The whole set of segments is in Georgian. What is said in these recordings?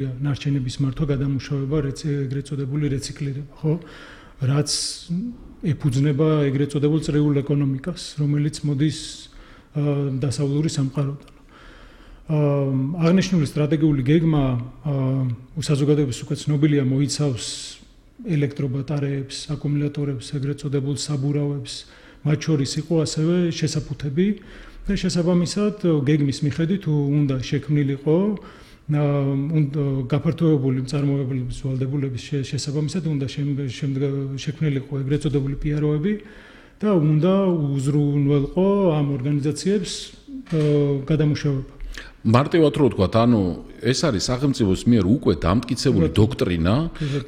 ნარჩენების მართვა, გადამუშავება, ეგრეთ წოდებული რეციკლირება, ხო? რაც ეფუძნება ეგრეთ წოდებულ წრიულ ეკონომიკას, რომელიც მოდის დასავლური სამყაროდან. აღნიშნული სტრატეგიული გეგმა საზოგადოების უკვე ცნობილია, მოიცავს ელექტრობატარეებს, აკუმულატორებს, ეგრეთ წოდებულ საბურავებს, მათ შორის იყო ასევე შესაფუთები და შესაბამისად გეგმის მიხედვით უნდა შექმნილიყო გაფართოებული მწარმოებლების ვალდებულების შესაბამისად უნდა შექმნილიყო ეგრეთ წოდებული პიაროები და უნდა უზრუნველყო ამ ორგანიზაციებს გადამუშავება. მარტივად რო ვთქვათ, ანუ ეს არის სახელმწიფოს მიერ უკვე დამტკიცებული დოქტრინა,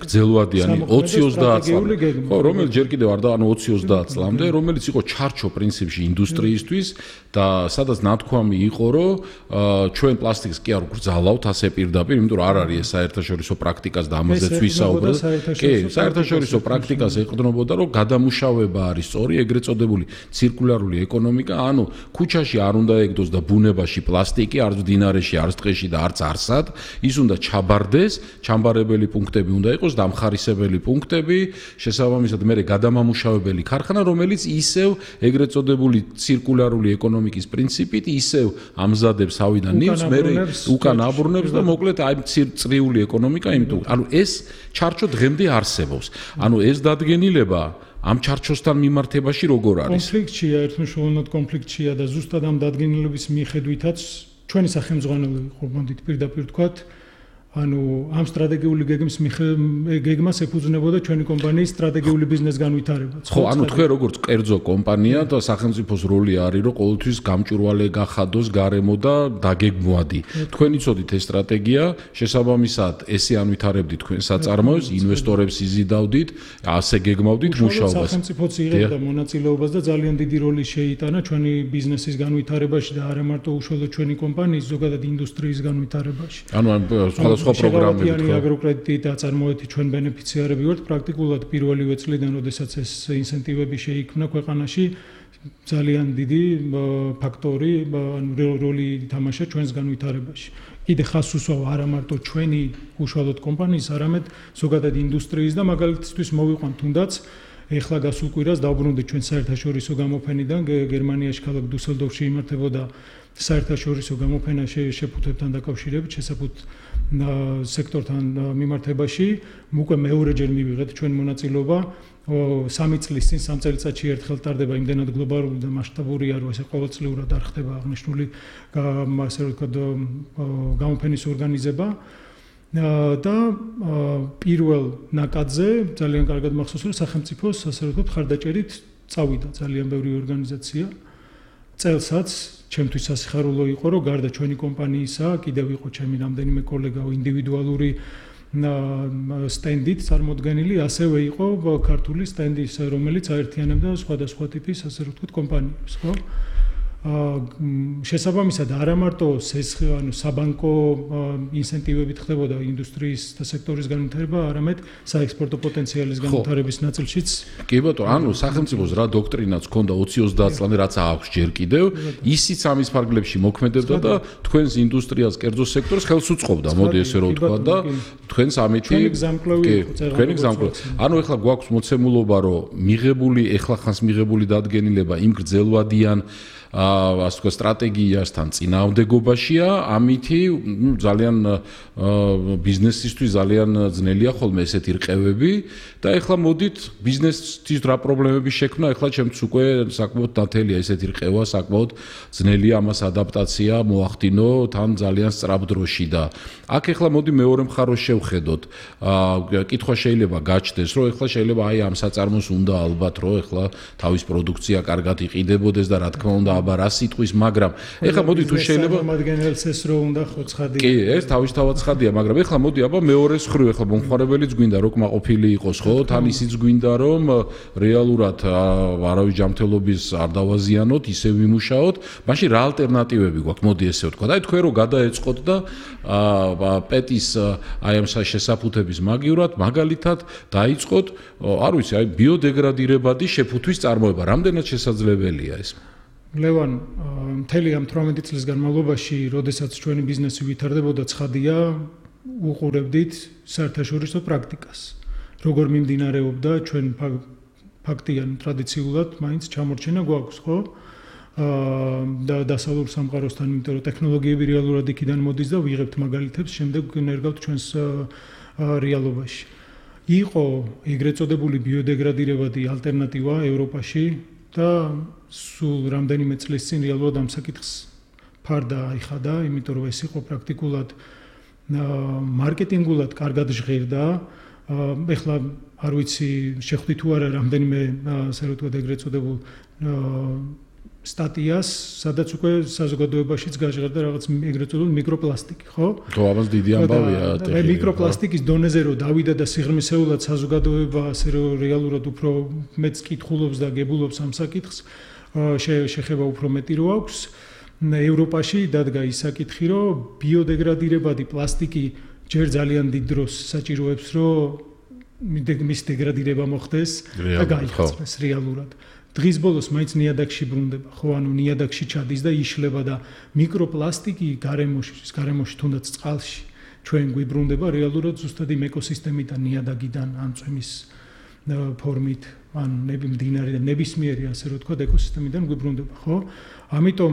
გრძელვადიანი 20-30 წლამდე, ხო, რომელიც ჯერ კიდევ არ და ანუ 20-30 წლამდე, რომელიც იყო ჩარჩო პრინციპში ინდუსტრიისთვის და სადაც ნათქვამი იყო, რომ ჩვენ პლასტიკს კი არ გვგრძალავთ ასე პირდაპირ, იმიტომ რომ არ არის ეს საერთაშორისო პრაქტიკას და ამაზეც ვისაუბრეთ. კი, საერთაშორისო პრაქტიკას ეყრდნობოდა, რომ გადამუშავება არის სწორი, ეგრეთ წოდებული ცირკულარული ეკონომიკა, ანუ ქუჩაში არ უნდა ეგდოს და ბუნებაში პლასტიკი, არც მდინარეში, არც ტყეში და არც არსად, ის უნდა ჩაბარდეს, ჩამბარებელი პუნქტები უნდა იყოს, დამხარისებელი პუნქტები, შესაბამისად მერე გადამამუშავებელი ქარხანა, რომელიც ისევ ეგრეთ წოდებული ცირკულარული ეკონომიკის პრინციპით ისევ ამზადებს ავიდან ნივთს, მერე უკან აბრუნებს და მოკლედ აი წრიული ეკონომიკა, იმიტომ ანუ ეს ჩარჩო დღემდე არსებობს. ანუ ეს დადგენილება ამ ჩარჩოსთან მიმართებაში როგორ არის? კონფლიქტშია, ერთმნიშვნელოვნად კონფლიქტშია და ზუსტად ამ დადგენილების მიხედვითაც ჩვენი სახელმძღვანელო იყო, მოდით პირდაპირ ვთქვათ, ანუ ამ სტრატეგიული გეგმას ეფუძნებოდა ჩვენი კომპანიის სტრატეგიული ბიზნეს განვითარებაც. ხო, ანუ თქვენ როგორც კერძო კომპანია და სახელმწიფოს როლი არის, რომ ყოველთვის გამჭვირვალე გახადოს გარემო და დაგეგმვადი. თქვენ იცოდით ეს სტრატეგია, შესაბამისად ესე ანვითარებდით თქვენ საწარმოებს, ინვესტორებს იზიდავდით, ასე გეგმავდით მუშაობას. სახელმწიფოც იღებდა მონაწილეობას და ძალიან დიდი როლი შეიტანა ჩვენი ბიზნესის განვითარებაში და არა მარტო უშუალოდ ჩვენი კომპანიის, ზოგადად ინდუსტრიის განვითარებაში. ანუ სხვა პროგრამები აგროკრედიტი და წარმოეთი ჩვენ ბენეფიციარები ვართ პრაქტიკულად პირველივე წლიდან, როდესაც ეს ინსენტივები შეიქმნა ქვეყანაში, ძალიან დიდი ფაქტორი, როლი ითამაშა ჩვენს განვითარებაში. კიდე ხას უსვავ არა მარტო ჩვენი უშუალოდ კომპანიის, არამედ ზოგადად ინდუსტრიის და მაგალითისთვის მოვიყვანთ თუნდაც ეხლა გასულ კვირას დავბრუნდით ჩვენ საერთაშორისო გამოფენიდან გერმანიაში ქალაქ დუსელდორფში იმართებოდა საერთაშორისო გამოფენა შეფუთებთან დაკავშირებით, შესაფუთ სექტორთან მიმართებაში, უკვე მეორეჯერ მივიღეთ ჩვენ მონაწილეობა, 3 წლის წინ 3 წელიწადში ერთხელ ტარდება იმდენად გლობალური და მასშტაბურია, რომ ესე ყოველწლიურად არ ხდება აღნიშნული ასე ვთქვათ გამოფენის ორგანიზება. და პირველ ნაკადზე ძალიან კარგად მახსოვს, რომ სახელმწიფოს ასე ვთქვათ ხარდაჭერით წავიდა ძალიან ბევრი ორგანიზაცია. წელსაც ჩემთვის სასიხარულო იყო, რომ გარდა ჩვენი კომპანიისა, კიდევ იყო ჩემი რამდენიმე კოლეგა ინდივიდუალური სტენდით წარმოდგენილი, ასევე იყო ქართული სტენდი, რომელიც აერთიანებდა სხვადასხვა ტიპის ასე ვთქვათ კომპანიებს, ხო? შესაბამისად არა მარტო საბანკო ინსენტივებით ხდებოდა ინდუსტრიის და სექტორის განვითარება, არამედ საექსპორტო პოტენციალის განვითარების ნაწილშიც. კი ბატონო, ანუ სახელმწიფოს რა დოქტრინაც ჰქონდა 20-30 წლამდე, რაც აქვს ჯერ კიდევ, ისიც ამის ფარგლებში მოქმედებდა და თქვენს ინდუსტრიას, კერძო სექტორს ხელს უწყობდა, მოდი ესე რომ ვთქვა და თქვენს ამითი თქვენი გზამკვლევი. ანუ ეხლა გვაქვს მოცემულობა, რომ ეხლა ხანს მიღებული დადგენილება იმ გრძელვადიან ასე ვთქვათ სტრატეგიასთან წინააღმდეგობაშია, ამითი ძალიან ბიზნესისთვის ძალიან ძნელია ხოლმე ესეთი რყევები და ეხლა მოდით ბიზნესთვის რა პრობლემები შექმნა, ეხლა ჩემთვის უკვე საკმაოდ ნათელია ესეთი რყევა, საკმაოდ ძნელია ამას ადაპტაცია მოახდინო თან ძალიან სწრაფ დროში და აქ ეხლა მოდი მეორე მხარეს შევხედოთ. კითხვა შეიძლება გაჩნდეს, რომ ეხლა შეიძლება აი ამ საწარმოს უნდა ალბათ რომ ეხლა თავის პროდუქცია კარგად იყიდებოდეს და რა თქმა უნდა აბა რა სიტყვის, მაგრამ ეხლა მოდი თუ შეიძლება მომადგენელს ეს რო უნდა ხო ცხადია. კი, ეს თავისთავად ცხადია, მაგრამ ეხლა მოდი აბა მეორეს ხრივ ეხლა მომხმარებელიც გვინდა რომ კმაყოფილი იყოს, ხო? თან ისიც გვინდა რომ რეალურად არავის ჯანმრთელობის არ დავაზიანოთ, ისე ვიმუშაოთ, მაშინ რა ალტერნატივები გვაქვს? მოდი ესე ვთქვა. აი თქვენ რო გადაეწყოთ და პეტის აი ამ შესაფუთების მაგივრად მაგალითად დაიწყოთ, არ ვიცი, აი ბიოდეგრადირებადი შეფუთვის წარმოება, რამდენად შესაძლებელია ეს? ლევან, მთელი ამ 18 წლის განმავლობაში, როდესაც ჩვენი ბიზნესი ვითარდებოდა, ცხადია, უყურებდით საერთაშორისო პრაქტიკას. როგორ მიმდინარეობდა ჩვენ ფაქტიან ტრადიციულად მაინც ჩამორჩენა გვაქვს, ხო? და დასავლურ სამყაროსთან, იმიტომ რომ ტექნოლოგიები რეალურად იქიდან მოდის და ვიღებთ მაგალითებს, შემდეგ ნერგავთ ჩვენს რეალობაში. იყო ეგრეთ წოდებული ბიოდეგრადირებადი ალტერნატივა ევროპაში და სულ რამდენიმე წლის წინ რეალურად ამ საკითხს ფარდა აიხადა, იმიტომ რომ ეს იყო პრაქტიკულად მარკეტინგულად კარგად ჟღერდა. ეხლა არ ვიცი შეხვდით თუ არა რამდენიმე ასე რომ ვთქვათ ეგრეთ წოდებულ სტატიას, სადაც უკვე საზოგადოებაშიც გაჟღერდა რაღაც ეგრეთ წოდებული მიკროპლასტიკი, ხო? ხო, ამას დიდი ამბავია ტექნიკა. მიკროპლასტიკის დონეზე რომ დავიდა და სიღრმისეულად საზოგადოება ასე რომ რეალურად უფრო მეც კითხულობს და გებულობს ამ საკითხს, შეხება უფრო მეტი რო აქვს. ევროპაში დადგა ის საკითხი, რომ ბიოდეგრადირებადი პლასტიკი ჯერ ძალიან დიდ დროს საჭიროებს, რომ მის დეგრადირება მოხდეს და გაიხსნას რეალურად. დღის ბოლოს მაინც ნიადაგში ბრუნდება, ხო, ანუ ნიადაგში ჩადის და იშლება და მიკროპლასტიკი გარემოში თუნდაც წყალში ჩვენ გვიბრუნდება რეალურად ზუსტად იმ ეკოსისტემიდან, ნიადაგიდან, ან წვიმის ფორმით, ან მდინარე და ნებისმიერი ასე რომ ვთქვათ ეკოსისტემიდან გვიბრუნდება, ხო? ამიტომ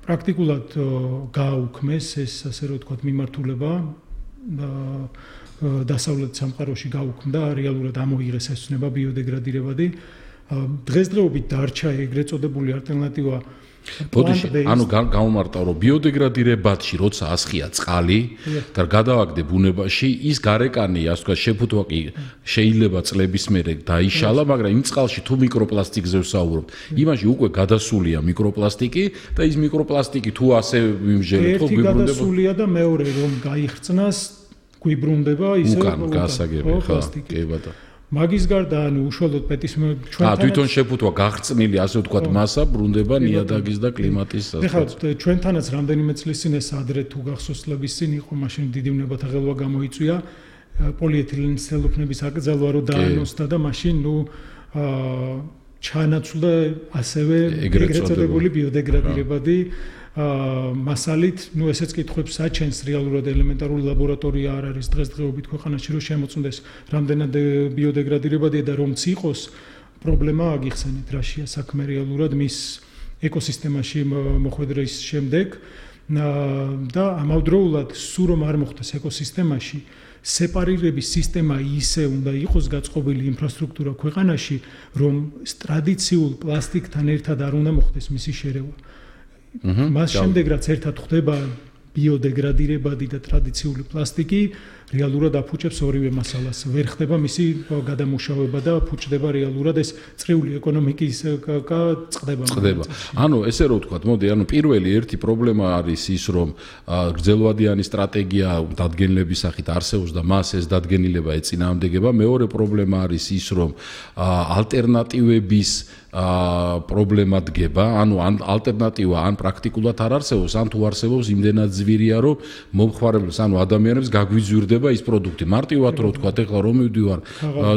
პრაქტიკულად გააუქმეს ეს ასე რომ ვთქვათ მიმართულება დასავლეთ სამყაროში გაუქმდა, რეალურად ამოიღეს ეს ცნება ბიოდეგრადირებადი. დღესდღეობით დარჩა ეგრეთ წოდებული ალტერნატივა. ანუ გამომარტავ რომ ბიოდეგრადირებადში როცა ასხია წყალი და გადავაგდე ბუნებაში, ის გარეკანი, ასე ვთქვათ, შეფუთვა კი შეიძლება წლების მერე დაიშალა, მაგრამ იმ წყალში თუ მიკროპლასტიკზე ვსაუბრობთ, იმაში უკვე გადასულია მიკროპლასტიკი და ის მიკროპლასტიკი თუ ასე ვიმჟელეთ, ხო გვიბრუნდება. ერთი გადასულია და მეორე რომ გაიხსნას, გვიბრუნდება ისე უკან გასაგები, ხო, კი ბატონო. მაგის გარდა ანუ უშუალოდ ჩვენთან თვითონ შეფუთვა გახრწნილი ასე ვთქვათ მასა ბრუნდება ნიადაგის და კლიმატის სასწაულს. ჩვენთანაც რამდენიმე წლის წინ ეს ადრე თუ გახსოვს წლების წინ იყო, მაშინ დიდი ვნებათა ღელვა გამოიწვია პოლიეთილენის ცელოფნების აკრძალვა რო დაანონსდა და მაშინ ჩანაცვლა ასევე ეგრეთ წოდებული ბიოდეგრადირებადი მასალით, ესეც კითხვებს აჩენს რეალურად ელემენტარული ლაბორატორია არ არის დღესდღეობით ქვეყანაში რომ შემოწმდეს რამდენად ბიოდეგრადირებადია და რომც იყოს პრობლემა აგიხსენეთ რაშია საქმე რეალურად მის ეკოსისტემაში მოხვედრის შემდეგ და ამავდროულად სულ რომ არ მოხდეს ეკოსისტემაში სეპარირების სისტემა ისე უნდა იყოს გაწყობილი ინფრასტრუქტურა ქვეყანაში რომ ტრადიციულ პლასტიკთან ერთად არ უნდა მოხდეს მისი შერევა. მას შემდეგ რაც ერთად ხდება ბიოდეგრადირებადი და ტრადიციული პლასტიკი რეალურად აფუჭებს ორივე მასალას. ვერ ხდება მისი გადამუშავება და ფუჭდება რეალურად ეს წრიული ეკონომიკის წყდება. ანუ ესე რომ ვთქვათ, მოდი, ანუ პირველი ერთი პრობლემა არის ის, რომ გრძელვადიანი სტრატეგია დადგენილების სახით არსებობს და მას ეს დადგენილება ეწინააღმდეგება. მეორე პრობლემა არის ის, რომ ალტერნატივების პრობლემა დგება, ანუ ალტერნატივა ან პრაქტიკულად არ არსებობს, ან თუ არსებობს იმდენად ძვირია, რომ მომხმარებლებს, ანუ ადამიანებს გაგვიძვირდება ის პროდუქტი. მარტივად რო ვთქვათ, ეხლა რომ მივდივარ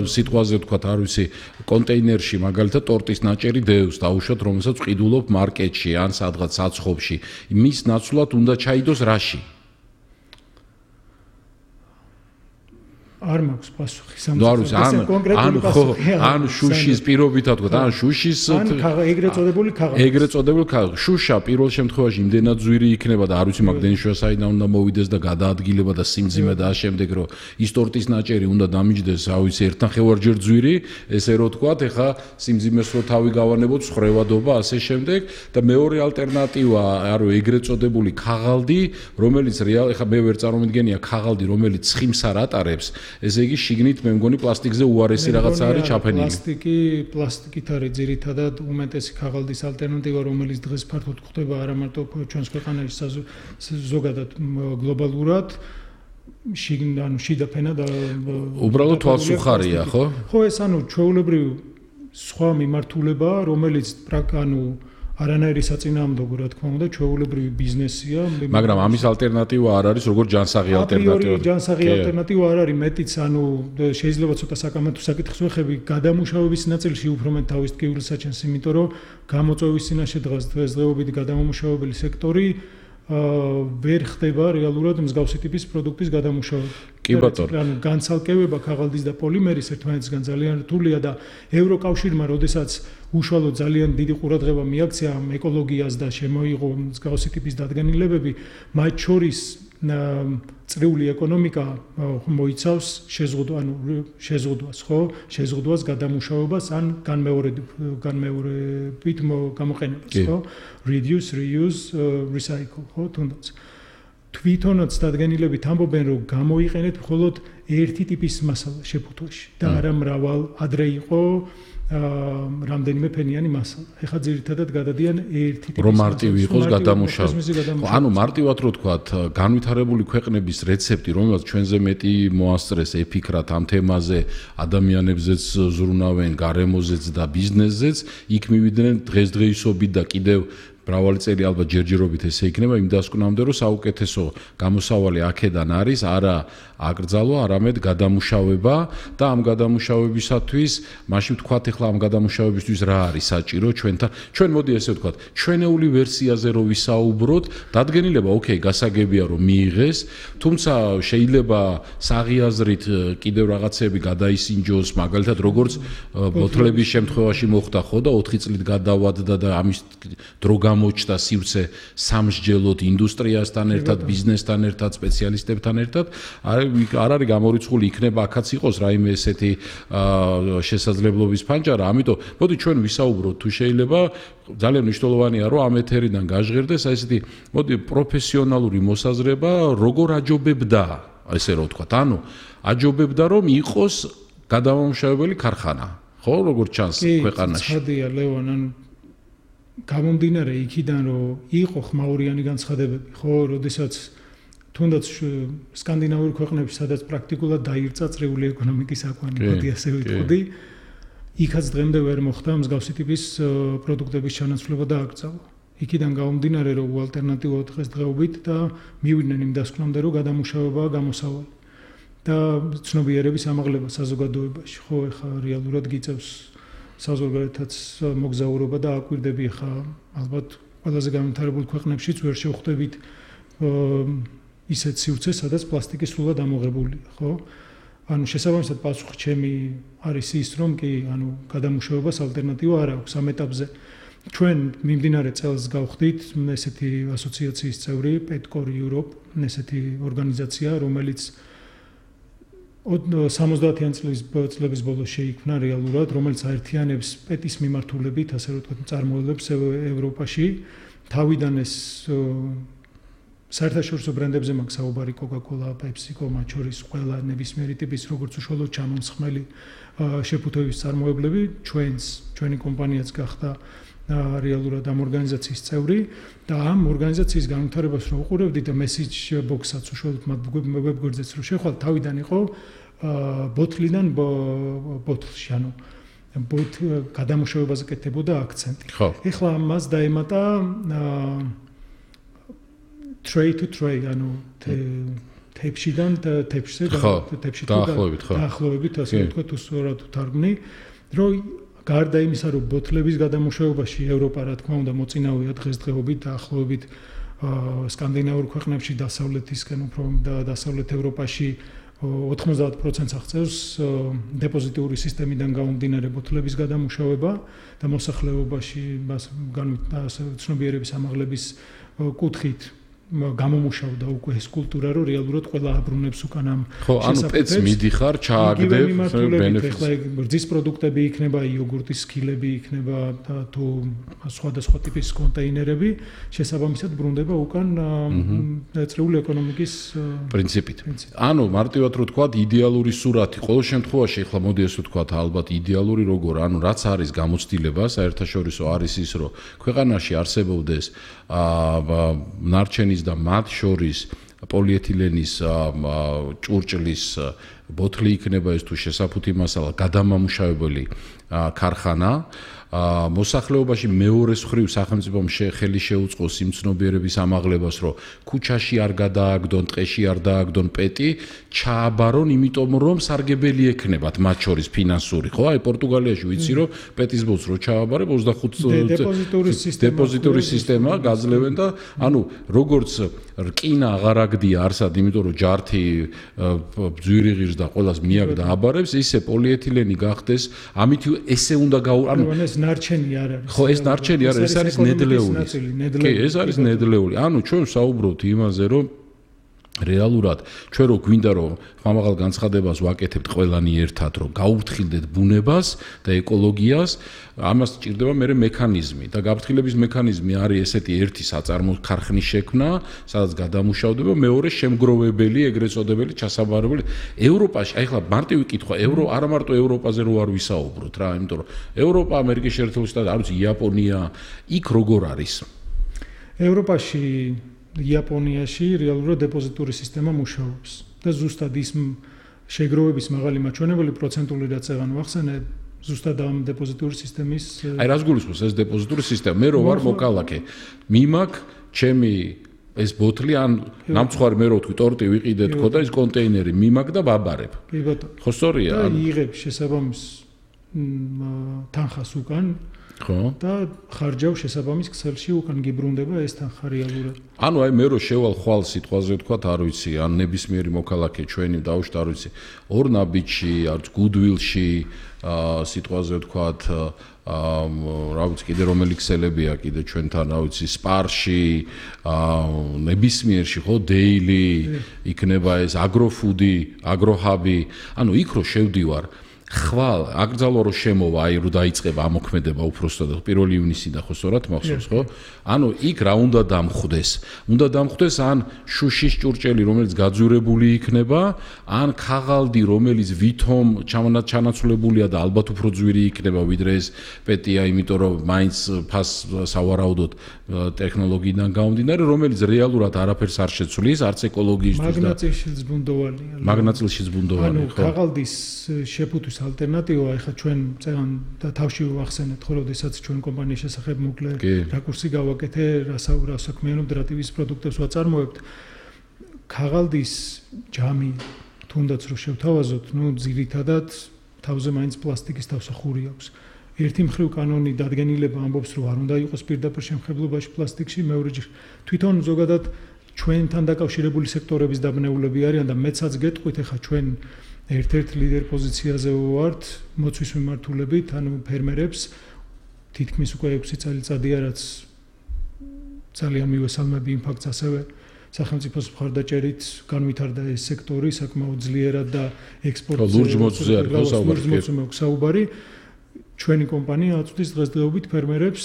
სიტყვაზე ვთქვათ, არ ვიცი, კონტეინერში მაგალითად ტორტის ნაჭერი დევს დაუშვათ, რომელსაც ვყიდულობ მარკეტში ან სადღაც საცხობში. მის ნაცვლად უნდა ჩაიდოს რაში? არ მაქვს პასუხი ან შუშის პირობითად ვთქვათ, ან შუშის ეგრეთ წოდებული ქაღალდი. შუშა პირველ შემთხვევაში იმდენად ძვირი იქნება და არ ვიცი მაგდენიშვა საიდან უნდა მოვიდეს და გადაადგილება და სიმძიმე და ამავდროულად რომ ის ტორტის ნაჭერი უნდა დამიჯდეს, რა ვიცი, ერთნახევარჯერ ძვირი, ესე რომ ვთქვათ, ეხა სიმძიმეს რო თავი გავანებოთ, ხრევადობა, ასე შემდეგ და მეორე ალტერნატივა, არო ეგრეთ წოდებული ქაღალდი, რომელიც ეხა მე ვერ წარმომიდგენია ქაღალდი, რომელიც ცხიმს არ ატარებს. ესე იგი შიგნით მე მგონი პლასტიკზე უარესი რაღაცა არის ჩაფენილი. პლასტიკით არის ძირითადად უმეტესი ქაღალდის ალტერნატივა, რომელიც დღეს ფართოდ გვხვდება არა მარტო ჩვენს ქვეყანაში, ზოგადად გლობალურად. ანუ შიდა ფენა და უბრალოდ თვალსუხარია, ხო? ხო, ეს ანუ ჩვეულებრივ სხვა მიმართულება, რომელიც ანუ არანაირი საწინააღმდეგო, რა თქმა უნდა, ჩვეულებრივი ბიზნესია. მაგრამ ამის ალტერნატივა არ არის, როგორც ჯანსაღი ალტერნატივა. ჯანსაღი ალტერნატივა არ არის, მეტიც, ანუ შეიძლება ცოტა საკამათო საკითხს ვეხები, გადამუშავების ნაწილში უფრო მეტ თავის ტკივილს აჩენს, იმიტომ რომ გამოწვევის წინაშე დღესდღეობით გადამამუშავებელი სექტორი ვერ ხდება რეალურად მსგავსი ტიპის პროდუქტის გადამუშავება. კი ბატონო. ანუ განცალკევება ქაღალდის და პოლიმერის ერთმანეთისგან ძალიან რთულია და ევროკავშირმა, როდესაც უშუალოდ ძალიან დიდი ყურადღება მიაქცია ამ ეკოლოგიას და შემოიღო მსგავსი ტიპის დადგენილებები, მათ შორის წრიული ეკონომიკა მოიცავს შეზღუდვას, ხო? შეზღუდვას გადამუშავებას ან განმეორებით გამოყენებას, ხო? Reduce, reuse, recycle, ხო? თუნდაც თვითონაც დადგენილებით ამბობენ, რომ გამოიყენეთ მხოლოდ ერთი ტიპის მასალა შეფუთვაში და არა მრავალ ადრე იყო რამდენიმე ფენიანი მასალა. ეხლა ძირითადად გადადიან ერთი ტიპის რომ მარტივი იყოს გადამუშავება. ანუ მარტივად რო თქვათ, განვითარებული ქვეყნების რეცეპტი, რომელსაც ჩვენზე მეტი მოასწრეს ეფიქრათ ამ თემაზე, ადამიანებზეც ზრუნავენ, გარემოზეც და ბიზნესზეც, იქ მივიდნენ დღესდღეობით და კიდევ მრავალი წელი ალბათ ჯერჯერობით ესე იქნება იმ დასკვნამდე, რომ საუკეთესო გამოსავალი აქედან არის არა აკრძალვა, არამედ გადამუშავება და ამ გადამუშავებისათვის, მაშინ ვთქვათ, ეხლა ამ გადამუშავებისთვის რა არის საჭირო ჩვენთან. ჩვენ მოდი ესე ვთქვათ, ჩვენეული ვერსიაზე რო ვისაუბროთ, დადგენილება, ოკეი, გასაგებია რომ მიიღეს, თუმცა შეიძლება საღიაზრით კიდევ რაღაცები გადაისინჯოს, მაგალითად როგორც ბოთლების შემთხვევაში მოხდა ხო და 4 წლით გადავადდა და ამის დრო გამოჩნდა სივრცე სამსჯელოდ ინდუსტრიასთან ერთად, ბიზნესთან ერთად, სპეციალისტებთან ერთად, არ არის გამორიცხული, იქნება აქაც იყოს რაიმე ესეთი შესაძლებლობის ფანჯარა, ამიტომ მოდი ჩვენ ვისაუბროთ თუ შეიძლება, ძალიან მნიშვნელოვანია რომ ამ ეთერიდან გაჟღერდეს აი ესეთი მოდი პროფესიონალური მოსაზრება, როგორ აჯობებდა, ესე რომ ვთქვათ, ანუ აჯობებდა რომ იყოს გადამამუშავებელი ქარხანა, ხო, როგორც ჩანს ქვეყანაში. ხადია ლევან, ანუ გამომდინარე იქიდან რომ იყო ხმაურიანი განცხადებები, ხო, როდესაც თუნდაც სკანდინავური ქვეყნებში, სადაც პრაქტიკულად დაირწა წრიული ეკონომიკის აკვანი, მოდი ასე ვიტყოდი, იქაც დღემდე ვერ მოხდა მსგავსი ტიპის პროდუქტების ჩანაცვლება და აკრძალვა. იქიდან გამომდინარე რომ ალტერნატიულად დღესდღეობით და მივიდნენ იმ დასკვნამდე რომ გადამუშავებაა გამოსავალი და ცნობიერების ამაღლება საზოგადოებაში, ხო, ეხა რეალურად გიწევს საზოგადოებათაც მოგზაურობა და აკვირდები ხა ალბათ ყველაზე განვითარებულ ქვეყნებშიც ვერ შევხვდებით ისეთ სივრცეს, სადაც პლასტიკის სრულად ამოღებულია, ხო? ანუ შესაბამისად პასუხი ჩემი არის ის, რომ კი, ანუ გადამუშავებას ალტერნატივა არ აქვს ამ ეტაპზე. ჩვენ მიმდინარე წელს გავხდით ესეთი ასოციაციის წევრი, Petcor Europe, ესეთი ორგანიზაცია, რომელიც 70-იან წლების ბოლოს შეიქმნა რეალურად, რომელიც აერთიანებს პეტის მიმართულებით, ასე რომ ვთქვათ, წარმოებებს ევროპაში. თავიდან ეს საერთაშორისო ბრენდებზე მაქვს საუბარი Coca-Cola, PepsiCo, მათ შორის ყველა ნებისმიერი ტიპის როგორც უშუალოდ ჩამომსხმელი შეფუთვების წარმოებლები, ჩვენი კომპანიაც გახდა რეალურად ამ ორგანიზაციის წევრი და ამ ორგანიზაციის განვითარებას რო უყურებდი და message box-აც უშუალოდ მათ ვებგვერდზეც რო შეხვალ, თავიდან იყო ბოთლიდან ბოთლში, ანუ გადამუშავებაზე კეთდებოდა აქცენტი. ეხლა მას დაემატა tray to tray, ანუ თეფშიდან თეფშზე დაახლოებით, ასე ვთქვათ, უსწორად ვთარგმნი, რომ გარდა იმისა, რომ ბოთლების გადამუშავებაში ევროპა, რა თქმა უნდა, მოწინავეა დღესდღეობით დაახლოებით სკანდინავურ ქვეყნებში, დასავლეთისკენ უფრო და დასავლეთ ევროპაში 90%-ს აღწევს დეპოზიტიური სისტემიდან გამომდინარე ბოთლების გადამუშავება და მოსახლეობაში ცნობიერების ამაღლების კუთხით გამომუშავდა უკვე ეს კულტურა, რომ რეალურად ყველა აბრუნებს უკან ამ შესაძლებლობას. ხო, ანუ პეც მიდიხარ, ჩააგდებ ბენეფიტს. ეხლა რძის პროდუქტები იქნება, იოგურტის სქილები იქნება და თუ სხვადასხვა ტიპის კონტეინერები, შესაბამისად ბრუნდება უკან წრიული ეკონომიკის პრინციპით. ანუ მარტივად რო თქვა, იდეალური სურათი, ყოველ შემთხვევაში, ეხლა მოდი ესე ვთქვა, ალბათ იდეალური როგორ, ანუ რაც არის გამოცდილება, საერთაშორისო არის ის, რომ ქვეყანაში არსებობდეს ნარჩენის და მათ შორის პოლიეთილენის ჭურჭლის ბოთლი იქნება ეს თუ შესაფუთი მასალა გადამამუშავებელი ქარხანა მოსახლეობაში მეორეს მხრივ სახელმწიფომ ხელი შეუწყოს იმ ცნობიერების ამაღლებას, რომ ქუჩაში არ გადააგდონ, ტყეში არ დააგდონ პეტი, ჩააბარონ, იმიტომ რომ სარგებელი ექნებათ მათ შორის ფინანსური, ხო? აი პორტუგალიაში ვიცი, რომ პეტის ბოლოს რო ჩააბარებ 25 დეპოზიტური სისტემა გაძლევენ და ანუ როგორც რკინა აღარ აგდია არსად, იმიტომ რომ ჯართი ბძვირი ღირს და ყველას მიაგდა აბარებს, ისე პოლიეთილენი გახდეს, ამით ესე უნდა ანუ ეს ნარჩენი არ არის. ხო, ეს ნარჩენი არ არის, ეს არის ნედლეული. კი, ეს არის ნედლეული. ანუ ჩვენ საუბრობთ იმაზე, რომ რეალურად ჩვენ რო გვინდა რომ ხმამაღალ განცხადებას ვაკეთებთ ყველანი ერთად, რომ გაუფრთხილდეთ ბუნებას და ეკოლოგიას, ამას სჭირდება მე მექანიზმი და გაფრთხილების მექანიზმი არის ესეთი ერთი საწარმო ქარხნის შექმნა, სადაც გადამუშავდება, მეორე შემგროვებელი, ეგრეთ წოდებული ჩასაბარებელი. ევროპაში, აი ხლა მარტივი კითხვა, არა მარტო ევროპაზე რო არ ვისაუბროთ რა, იმიტომ რომ ევროპა, ამერიკის შეერთებული შტატები, არ ვიცი, იაპონია, იქ როგორ არის? ევროპაში იაპონიაში რეალურად დეპოზიტური სისტემა მუშაობს და ზუსტად ის შეგროვების მაღალი მაჩვენებელი პროცენტული რაც აღარ ვახსენე ზუსტად ამ დეპოზიტური სისტემის აი რას გულისხმობს ეს დეპოზიტური სისტემა მე რო ვარ მოკალაკე მიმაქ ჩემი ეს ბოთლი ან ნამცხვარი მე რო ვთქვი ტორტი ვიყიდე თქო და ის კონტეინერი მიმაქ და ვაბარებ კი ბატონო ხო სწორია და იღებ შესაბამის თანხას უკან ხო და ხარჯავ შესაბამის ქსელში უკან გიბრუნდება ეს თანხა რეალურად ანუ აი მე რო შევალ ხვალ სიტყვაზე ვთქვათ არ ვიცი ან ნებისმიერი მოქალაქე ჩვენი დავუშვით არ ვიცი ორნაბიჯში არც გუდვილში სიტყვაზე ვთქვათ რა ვიცი კიდე რომელი ქსელებია კიდე ჩვენთან რა ვიცი სპარში ნებისმიერში ხო დეილი იქნება ეს აგროფუდი აგროჰაბი ანუ იქ რო შევდივარ ხვალ აკრძალვა რო შემოვა აი რო დაიწყება ამოქმედება უпроსტად პირველი ივნისიდან ხო სწორად მახსოვს ხო ანუ იქ რა უნდა დამხვდეს ან შუშის ჭურჭელი რომელიც გაძურებული იქნება ან ქაღალდი რომელიც ვითომ ჩანაცვლებულია და ალბათ უფრო ძვირი იქნება ვიდრე ეს პეტია იმიტომ რომ მაინც ფას სავარაუდოდ ტექნოლოგიიდან გამომდინარე რომელიც რეალურად არაფერს არ შეცვლის არც ეკოლოგიისთვის და მაგნაწილში ზბუნდოვანი ხო ანუ ქაღალდის შეფუთვის ალტერნატივა ეხლა ჩვენ წეგან და თავში ვახსენეთ ხო როდესაც ჩვენ კომპანიის შესახებ მოკლე რაკურსი გავაკეთე რა საქმიანობ და რა ტიპის პროდუქტებს ვაწარმოებთ ქაღალდის ჯამი თუნდაც რო შევთავაზოთ ნუ ძირითადად თავზე მაინც პლასტიკის თავსახური აქვს ერთი მხრივ კანონი დადგენილება ამბობს რომ არ უნდა იყოს პირდაპირ შემხებლობაში პლასტიკში მეორე თვითონ ზოგადად ჩვენთან დაკავშირებული სექტორების დაბნეულები არიან და მეცაც გეტყვით ეხლა ჩვენ ერთ-ერთ ლიდერ პოზიციაზე ვართ მოცვის მიმართულებით, ანუ ფერმერებს თითქმის უკვე 6 წელიწადია რაც ძალიან მივესალმები იმ ფაქტს ასევე სახელმწიფოს მხარდაჭერით განვითარდა ეს სექტორი საკმაოდ ძლიერად და ექსპორტზე ლურჯ მოწვზე არის საუბარი ჩვენი კომპანია აწვდის დღესდღეობით ფერმერებს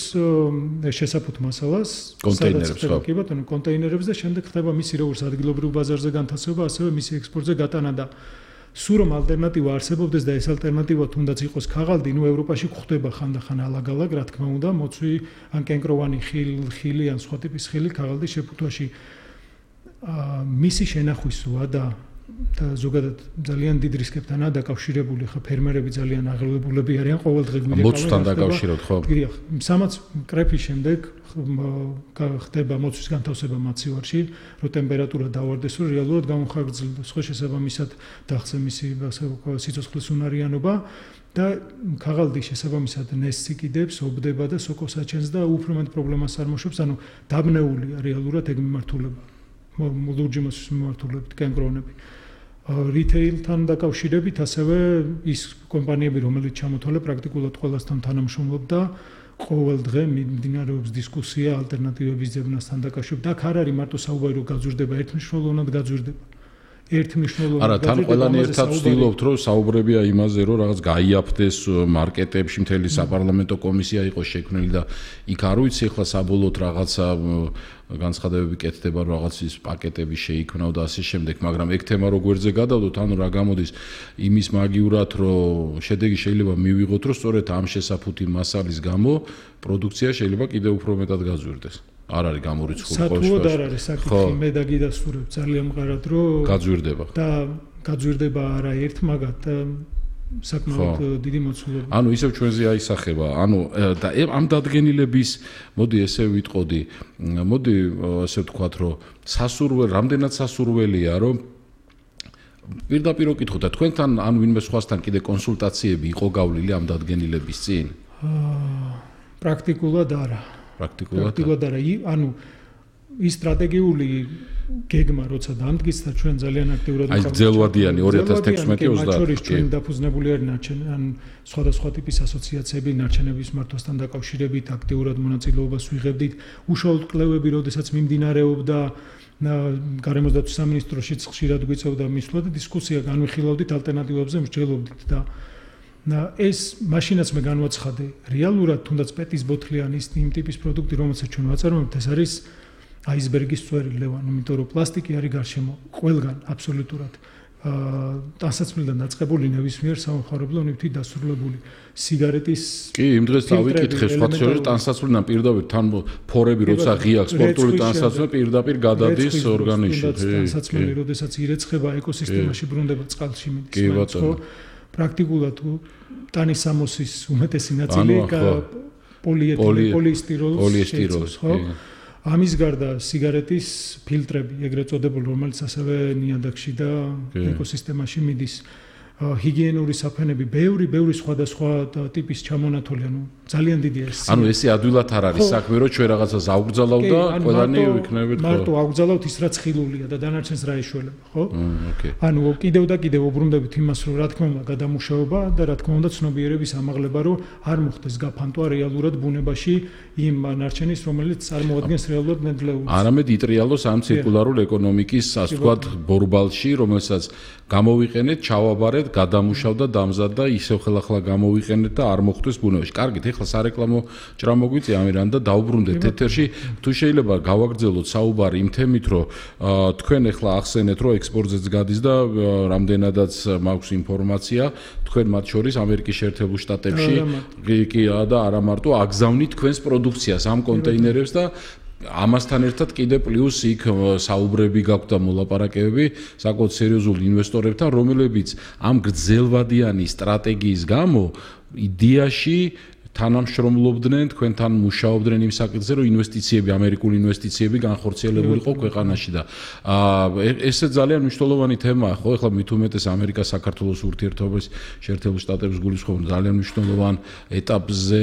შესაფუთ მასალას კონტეინერებს ხო კი ბატონო კონტეინერებს და შემდეგ ხდება მისი როგორც ადგილობრივ ბაზარზე განთავსება ასევე მისი ექსპორტზე გატანა და სულ რომ ალტერნატივა არსებობდეს და ეს ალტერნატივა თუნდაც იყოს ქაღალდი, ნუ ევროპაში გვხვდება ხანდახან ალაგ-ალაგ, რა თქმა უნდა, მოცვი ან კენკროვანი ხილი ან სხვა ტიპის ხილი ქაღალდის შეფუთვაში მისი შენახვისოა და ზოგადად ძალიან დიდ რისკებთანაა დაკავშირებული, ხა ფერმერები ძალიან აღელვებულები არიან ყოველდღე მოცვთან დაკავშიროთ, ხო? გირია, სამაც კრეფის შემდეგ ხდება მოცვის განთავსება მაცივარში, რომ ტემპერატურა დავარდეს, რომ რეალურად გამოხარგძლდეს, ხო შესაბამისად დახცე მისი სიცოცხლის უნარიანობა და ქაღალდი შესაბამისად ნესს იკიდებს, ობდება და სოკოს აჩენს და უფრო მეტ პრობლემას არ მოშვებს, ანუ დაბნეულია რეალურად ეგ მიმართულება. ლურჯი მოცვის მიმართულებით კენკრონები. რიტეილთან დაკავშირებით ასევე ის კომპანიები, რომელიც ჩამოთვალე პრაქტიკულად ყველასთან თანამშრომლობდა, ყოველ დღე მიმდინარეობს დისკუსია ალტერნატივების ძებნასთან დაკავშირებით. და არ არის მარტო საუბარი რომ გაძვირდება ერთმნიშვნელოვნად გაძვირდება. ერთმნიშვნელოვნად არა თან ყველანი ერთად ვცდილობთ რომ საუბრებია იმაზე რომ რაღაც გაიაფდეს მარკეტებში მთელი საპარლამენტო კომისია იყოს შექმნილი და იქ არ ვიცი ახლა საბოლოოდ რაღაცა განცხადებები კეთდება რომ რაღაც ის პაკეტები შეიქმნაო და ასე შემდეგ მაგრამ ეგ თემა რო გვერდზე გადავდოთ ანუ რა გამოდის იმის მაგივრად რომ შედეგი შეიძლება მივიღოთ რომ სწორედ ამ შესაფუთი მასალის გამო პროდუქცია შეიძლება კიდევ უფრო მეტად გაძვირდეს არ არის გამორიცხული ყოველ შემთხვევაში. სათუოდ არ არის საკითხი, მე დაგიდასტურებ ძალიან მყარად, რომ გაძვირდება. და გაძვირდება არა ერთ მაგათ საკმაოდ დიდი მოცულობა. ანუ ისევ ჩვენზე აისახება. ანუ და ამ დადგენილების მოდი ესე ვიტყოდი, მოდი ასე ვთქვათ, რომ რამდენად სასურველია, რომ პირდაპირ ვკითხოთ და თქვენთან ან ვინმე სხვასთან კიდე კონსულტაციები იყო გავლილი ამ დადგენილების წინ? პრაქტიკულად არა. პრაქტიკულად არა. ანუ ის სტრატეგიული გეგმა როცა დამდგის და ჩვენ ძალიან აქტიურად აი ძელვადიანი 2016-2020 ჩვენ დაფუძნებული არ ნარჩენ სხვადასხვა ტიპის ასოციაციები ნარჩენების მართვასთან დაკავშირებით აქტიურად მონაწილეობას ვიღებდით უშუალოდ კვლევები როდესაც მიმდინარეობდა გარემოსდაცვის სამინისტროშიც ხშირად გვიწევდა მისვლა და დისკუსია განვიხილავდით ალტერნატივებზე მსჯელობდით და ეს მაშინაც მე განვაცხადე რეალურად თუნდაც პეტის ბოთლი ან ის იმ ტიპის პროდუქტი რომელსაც ჩვენ ვაწარმოებთ ეს არის აისბერგის წვერი ლევან, იმიტომ რომ პლასტიკი არის გარშემო ყველგან აბსოლუტურად ტანსაცმლიდან დაწყებული ნებისმიერ სამხარებლო ნივთით დასრულებული სიგარეტის კი იმ დღეს დავიკითხე სხვა შორის ტანსაცმლიდან პირდაპირ თან ფორები როცა ღია სპორტული ტანსაცმელი პირდაპირ გადადის ორგანიზმში ტანსაცმელი როდესაც ირეცხება ეკოსისტემაში ბრუნდება წყალში მიდის ხო პრაქტიკულად ტანის სამოსის უმეტესი ნაწილი პოლიესტიროლს ხო ამის გარდა სიგარეტის ფილტრები, ეგრეთ წოდებული, რომელიც ასევე ნიადაგში და ეკოსისტემაში მიდის, ჰიგიენური საფენები, ბევრი სხვადასხვა ტიპის ჩამონათვალი, ანუ ძალიან დიდია ეს. ანუ ესე ადვილად არ არის საქმე, რომ ჩვენ რაღაცას აღვგზავნავ და ყველანი ვიქნებით ხო? მარტო აღვგზავნავთ ის რაც ხილულია და დანარჩენს რა ეშველება, ხო? ანუ კიდევ და კიდევ უბრუნდებით იმას, რომ რა თქმა უნდა გადამუშავება და რა თქმა უნდა ცნობიერების ამაღლება, რომ არ მოხდეს გაფანტვა რეალურად ბუნებაში იმ ნარჩენის, რომელიც წარმოადგენს რეალურად ნედლეულს. არამედ იტრიალოს ამ ცირკულარული ეკონომიკის, ასე ვთქვათ, ბორბალში, რომელსაც გამოვიყენეთ, ჩავაბარეთ, გადამუშავდა, დამზადდა, ისევ ხელახლა გამოვიყენეთ და არ მოხდეს ბუნებაში. კარგით, ეხლა სარეკლამო ჭრა მოგვიწია ამირან და დავუბრუნდეთ ეთერში. თუ შეიძლება გავაგრძელოთ საუბარი იმ თემით, რომ თქვენ ეხლა ახსენეთ, რომ ექსპორტზეც გადის და რამდენადაც მაქვს ინფორმაცია, თქვენ მათ შორის ამერიკის შეერთებულ შტატებში კი და არა მარტო აგზავნით თქვენს პროდუქციას ამ კონტეინერებს და ამასთან ერთად კიდე პლუს იქ საუბრები გაქვთ და მოლაპარაკებები საკმაოდ სერიოზულ ინვესტორებთან, რომლებიც ამ გრძელვადიანი სტრატეგიის გამო idеაში თანამშრომლობდნენ, თქვენთან მუშაობდნენ იმ საკითხზე, რომ ინვესტიციები, ამერიკული ინვესტიციები განხორციელებული იყო ქვეყანაში და ესე ძალიან მნიშვნელოვანი თემაა, ხო? ეხლა მით უმეტეს ამერიკა-საქართველოს ურთიერთობების შეერთებულ შტატების გულისხმობ ძალიან მნიშვნელოვან ეტაპზე,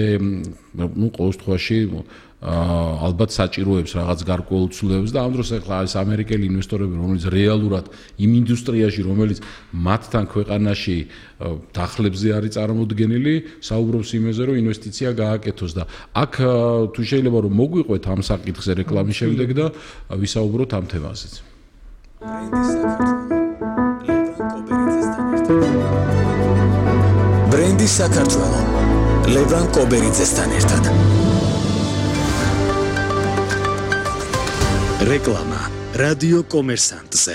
ну, ყოველ შემთხვევაში ალბათ საჭიროებს რაღაც გარკვეულ ცვლილებებს და ამ დროს ახლა ეს ამერიკელი ინვესტორები, რომელიც რეალურად იმ ინდუსტრიაში, რომელიც მათთან ქვეყანაში დახლებზე არის წარმოდგენილი, საუბრობს იმაზე, რომ ინვესტიცია გააკეთოს და აქ თუ შეიძლება რომ მოგვიყვეთ ამ საკითხზე რეკლამის შემდეგ და ვისაუბროთ ამ თემაზეც. ბრენდი საქართველო ლევრან კობერიძესთან ერთად. რეკლამა რადიო კომერსანტზე.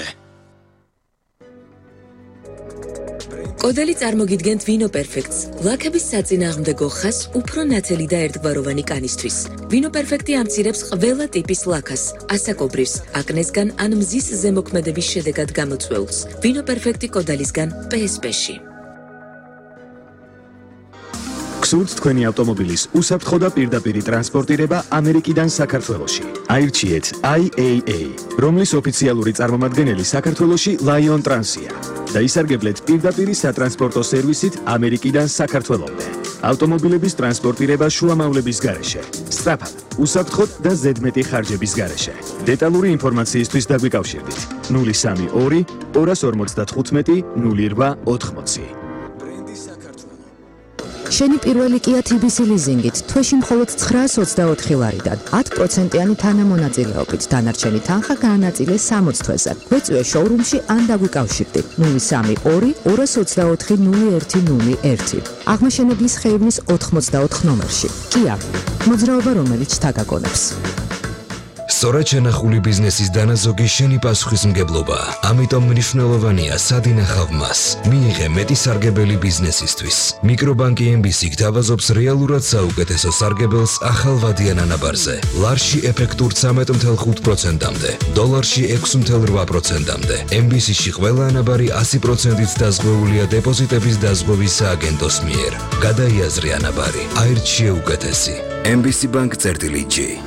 კოდელი წარმოგიდგენთ ვინო პერფექტს, ლაქების საწინააღმდეგო ხაზს უფრო ნათელი და ერთგვაროვანი კანისთვის. ვინო პერფექტი ამცირებს ყველა ტიპის ლაქას, ასაკობრივს, აკნესგან ან მზის ზემოქმედების შედეგად გამოწვეულს. ვინო პერფექტი კოდალისგან PSP-ში. გსურთ თქვენი ავტომობილის უსაფრთხო და პირდაპირი ტრანსპორტირება ამერიკიდან საქართველოში. აირჩიეთ IAA, რომლის ოფიციალური წარმომადგენელი საქართველოში Lion Trans-ია და ისარგებლეთ პირდაპირი სატრანსპორტო სერვისით ამერიკიდან საქართველომდე. ავტომობილების ტრანსპორტირება შუამავლების გარეშე, სწრაფად, უსაფრთხოდ და ზედმეტი ხარჯების გარეშე. დეტალური ინფორმაციისთვის დაგვიკავშირდით 032 255 0880. შენი პირველი Kia TBC ლიზინგით თვეში მხოლოდ 924 ლარიდან 10%-იანი თანამონაწილეობით დანარჩენი თანხა გაანაწილე 60 თვეზე. გვეწვიე შოურუმში ან დაგვიკავშირდით 032 224 0101. აღმაშენებლის ხეივნის 84 ნომერში. Kia, მოძრაობა რომელიც შთაგაგონებს. სწორად შენახული ბიზნესის დანაზოგი შენი პასუხისმგებლობა. ამიტომ მნიშვნელოვანია სად ინახავ მას. მიიღე მეტი სარგებელი ბიზნესისთვის. მიკრობანკი MBC გთავაზობს რეალურად საუკეთესო სარგებელს ახალ ვადიან ანაბარზე. ლარში ეფექტურ 13.5%-მდე, დოლარში 6.8%-მდე. MBC-ში ყველა ანაბარი 100%-ით დაზღვეულია დეპოზიტების დაზღვევის სააგენტოს მიერ. გადაიაზრე ანაბარი. აირჩიე უკეთესი. MBC Bank-G.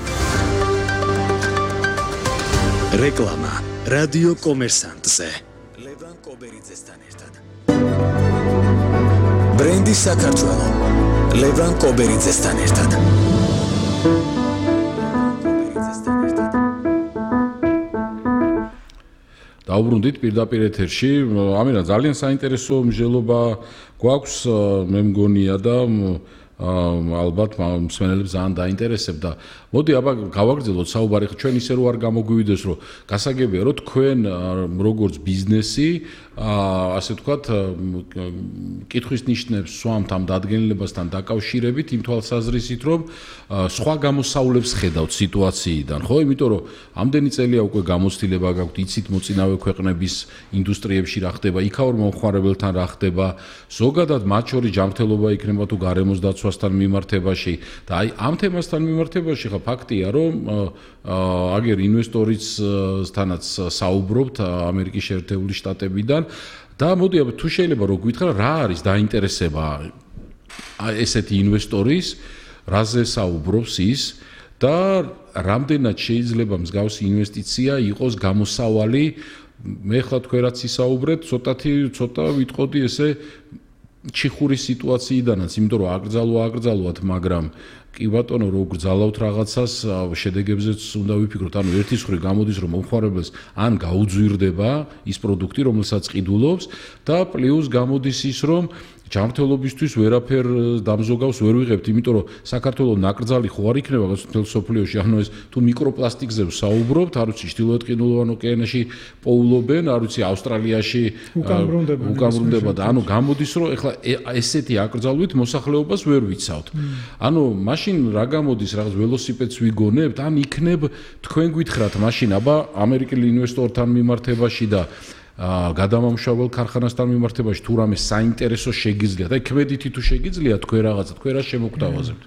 რეკლამა რადიო კომერსანტზე. ლევან კობერიძესთან ერთად. ბრენდი საქართველო. ლევან კობერიძესთან ერთად. დაუბრუნდით პირდაპირ ეთერში. ამირა ძალიან საინტერესო მსჯელობა გვაქვს, მე მგონია და ალბათ მსმენელებს ძალიან დაინტერესებდა. მოდი აბა გავაგრძელოთ საუბარი. ჩვენ ისე რო არ გამოგვივიდეს, რომ გასაგებია, რომ თქვენ როგორც ბიზნესი, ასე ვთქვათ, კითხვის ნიშნებს სვამთ ამ დადგენილებასთან დაკავშირებით, იმ თვალსაზრისით, რომ სხვა გამოსავლებს ხედავთ სიტუაციიდან, ხო? იმიტომ რომ ამდენი წელია უკვე გამოცდილება გაქვთ, იცით მოწინავე ქვეყნების ინდუსტრიებში რა ხდება, იქაურ მომხმარებელთან რა ხდება, ზოგადად მათ შორის ჯანმრთელობა იქნება თუ გარემოს დაცვასთან მიმართებაში და აი ამ თემასთან მიმართებაში ხა ფაქტია, რომ აგერ ინვესტორისთანაც საუბრობთ ამერიკის შეერთებული შტატებიდან და მოდი თუ შეიძლება რომ გითხრა რა არის დაინტერესება ესეთი ინვესტორის, რაზე საუბრობს ის და რამდენად შეიძლება მსგავსი ინვესტიცია იყოს გამოსავალი. მე ხლა თქვენ რაც ისაუბრეთ, ცოტა ვიტყოდი ესე ჩიხურის სიტუაციიდანაც, იმიტომ რომ აკრძალვათ, მაგრამ კი ბატონო, რო გრძალავთ რაღაცას, შედეგებზეც უნდა ვიფიქროთ. ანუ ერთის მხრივ გამოდის, რომ მომხმარებელს ან გაუძვირდება ის პროდუქტი, რომელსაც ყიდულობს და პლუს გამოდის ის, რომ ჯანმრთელობისთვის ვერაფერ დამზოგავს ვერ ვიღებთ, იმიტომ რომ საქართველოს ნაკრძალი ხო არ იქნება მთელ სოფლიოში, ანუ ეს თუ მიკროპლასტიკზე საუბრობთ, არ ვიცი, ჩრდილოეთ ყინულოვან ოკეანეში პოულობენ, არ ვიცი, ავსტრალიაში უკამბრუნდება და ანუ გამოდის, რომ ეხლა ესეთი აკრძალვით მოსახლეობას ვერ ვიცავთ. ანუ მაშინ რა გამოდის, რაღაც ველოსიპედს ვიგონებთ, ან იქნებ თქვენ გითხრათ მაშინ აბა ამერიკელი ინვესტორთან მიმართებაში და გადამამუშავებელ ქარხანასთან მიმართებაში თუ რამე საინტერესო შეგიძლიათ, აი ქმედითი თუ შეგიძლიათ თქვენ რაღაცა, თქვენ რა შემოგთავაზებთ?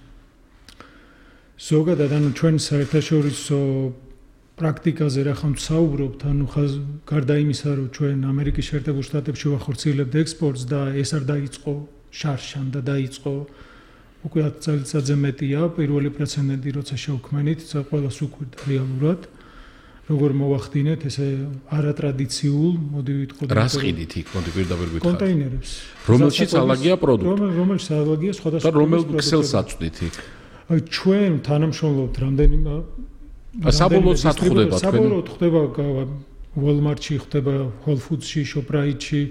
ზოგადად, ანუ ჩვენ საერთაშორისო პრაქტიკაზე რა ხომ საუბრობთ, ანუ გარდა იმისა, რომ ჩვენ ამერიკის შეერთებულ შტატებში ვახორციელებთ ექსპორტს და ეს არ დაიწყო შარშან და დაიწყო უკვე 10 წელიწადზე მეტია, პირველი პრეცედენტი როცა შევქმნით, ყველას უყვირდა რეალურად. როგორ მოვახდინეთ ესე არატრადიციულ, მოდი ვიტყოდეთ. რას ყიდით იქ, მოდი პირდაპირ გითხრათ. კონტეინერებს. რომელშიც ალაგია პროდუქტი. რომელშიც ალაგია სხვადასხვა. და რომელ ქსელს აწვდით იქ? აი ჩვენ თანამშრომლობთ რამდენიმე საბოლოოდ სად ხდება თქვენ? საბოლოოდ ხდება Walmart-ში, ხდება Whole Foods-ში, Shoprite-ში,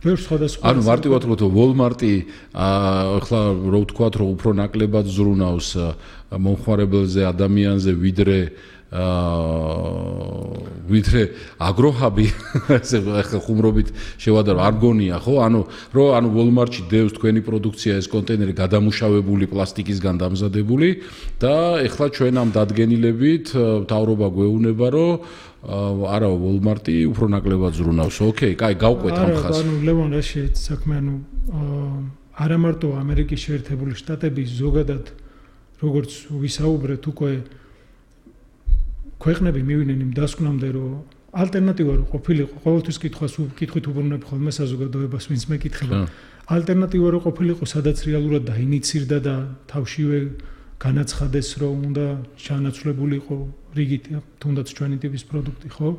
ბევრ სხვადასხვა. ანუ მარტივად ვთქვათ, Walmart-ი ახლა რო ვთქვათ, რომ უფრო ნაკლებად ზრუნავს მომხმარებელზე, ადამიანზე, ვიდრე აგროჰაბი, ესე ახლა ხუმრობით შევადარო, არ გონია, ხო? ანუ Walmart-ში დევს თქვენი პროდუქცია ეს კონტეინერი გადამუშავებული პლასტიკისგან დამზადებული და ახლა ჩვენ ამ დადგენილებით მთავრობა გვეუბნება, რომ არა Walmart-ი უფრო ნაკლებად ზრუნავს. ოკეი, კაი, გავყვეთ ამ ხაზს. ანუ ლევან რა შეიძლება საქმე, ანუ არა მარტო ამერიკის შეერთებული შტატების ზოგადად როგორც ვისაუბრეთ უკვე ქვეყნები მივიდნენ იმ დასკვნამდე, რომ ალტერნატივა რო ყოფილიყო, ყოველთვის კითხვით უბრუნებ ხოლმე საზოგადოებას, ვინც მეკითხება. ალტერნატივა რო ყოფილიყო, სადაც რეალურად დაინიცირდა და თავშივე განაცხადეს, რომ უნდა ჩანაცვლებულიყო რიგით, თუნდაც ჩვენი ტიპის პროდუქტი, ხო?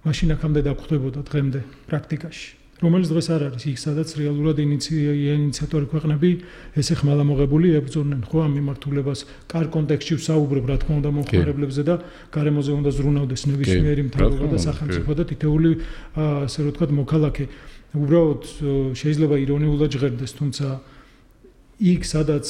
მაშინ აქამდე დაგხვდებოდა დღემდე პრაქტიკაში. რომელიც დღეს არ არის იქ, სადაც რეალურად ინიციატორი ქვეყნები ესე ხმალამოღებული ებრძოდნენ, ხო, ამ მიმართულებას. კარ კონტექსტში ვსაუბრობ, რა თქმა უნდა, მომხმარებლებზე და გარემოზე უნდა ზრუნავდეს ნებისმიერი მთავრობა და სახელმწიფო და თითოეული, ასე რომ ვთქვათ, მოქალაქე. უბრალოდ შეიძლება ირონიულად ჟღერდეს, თუმცა იქ, სადაც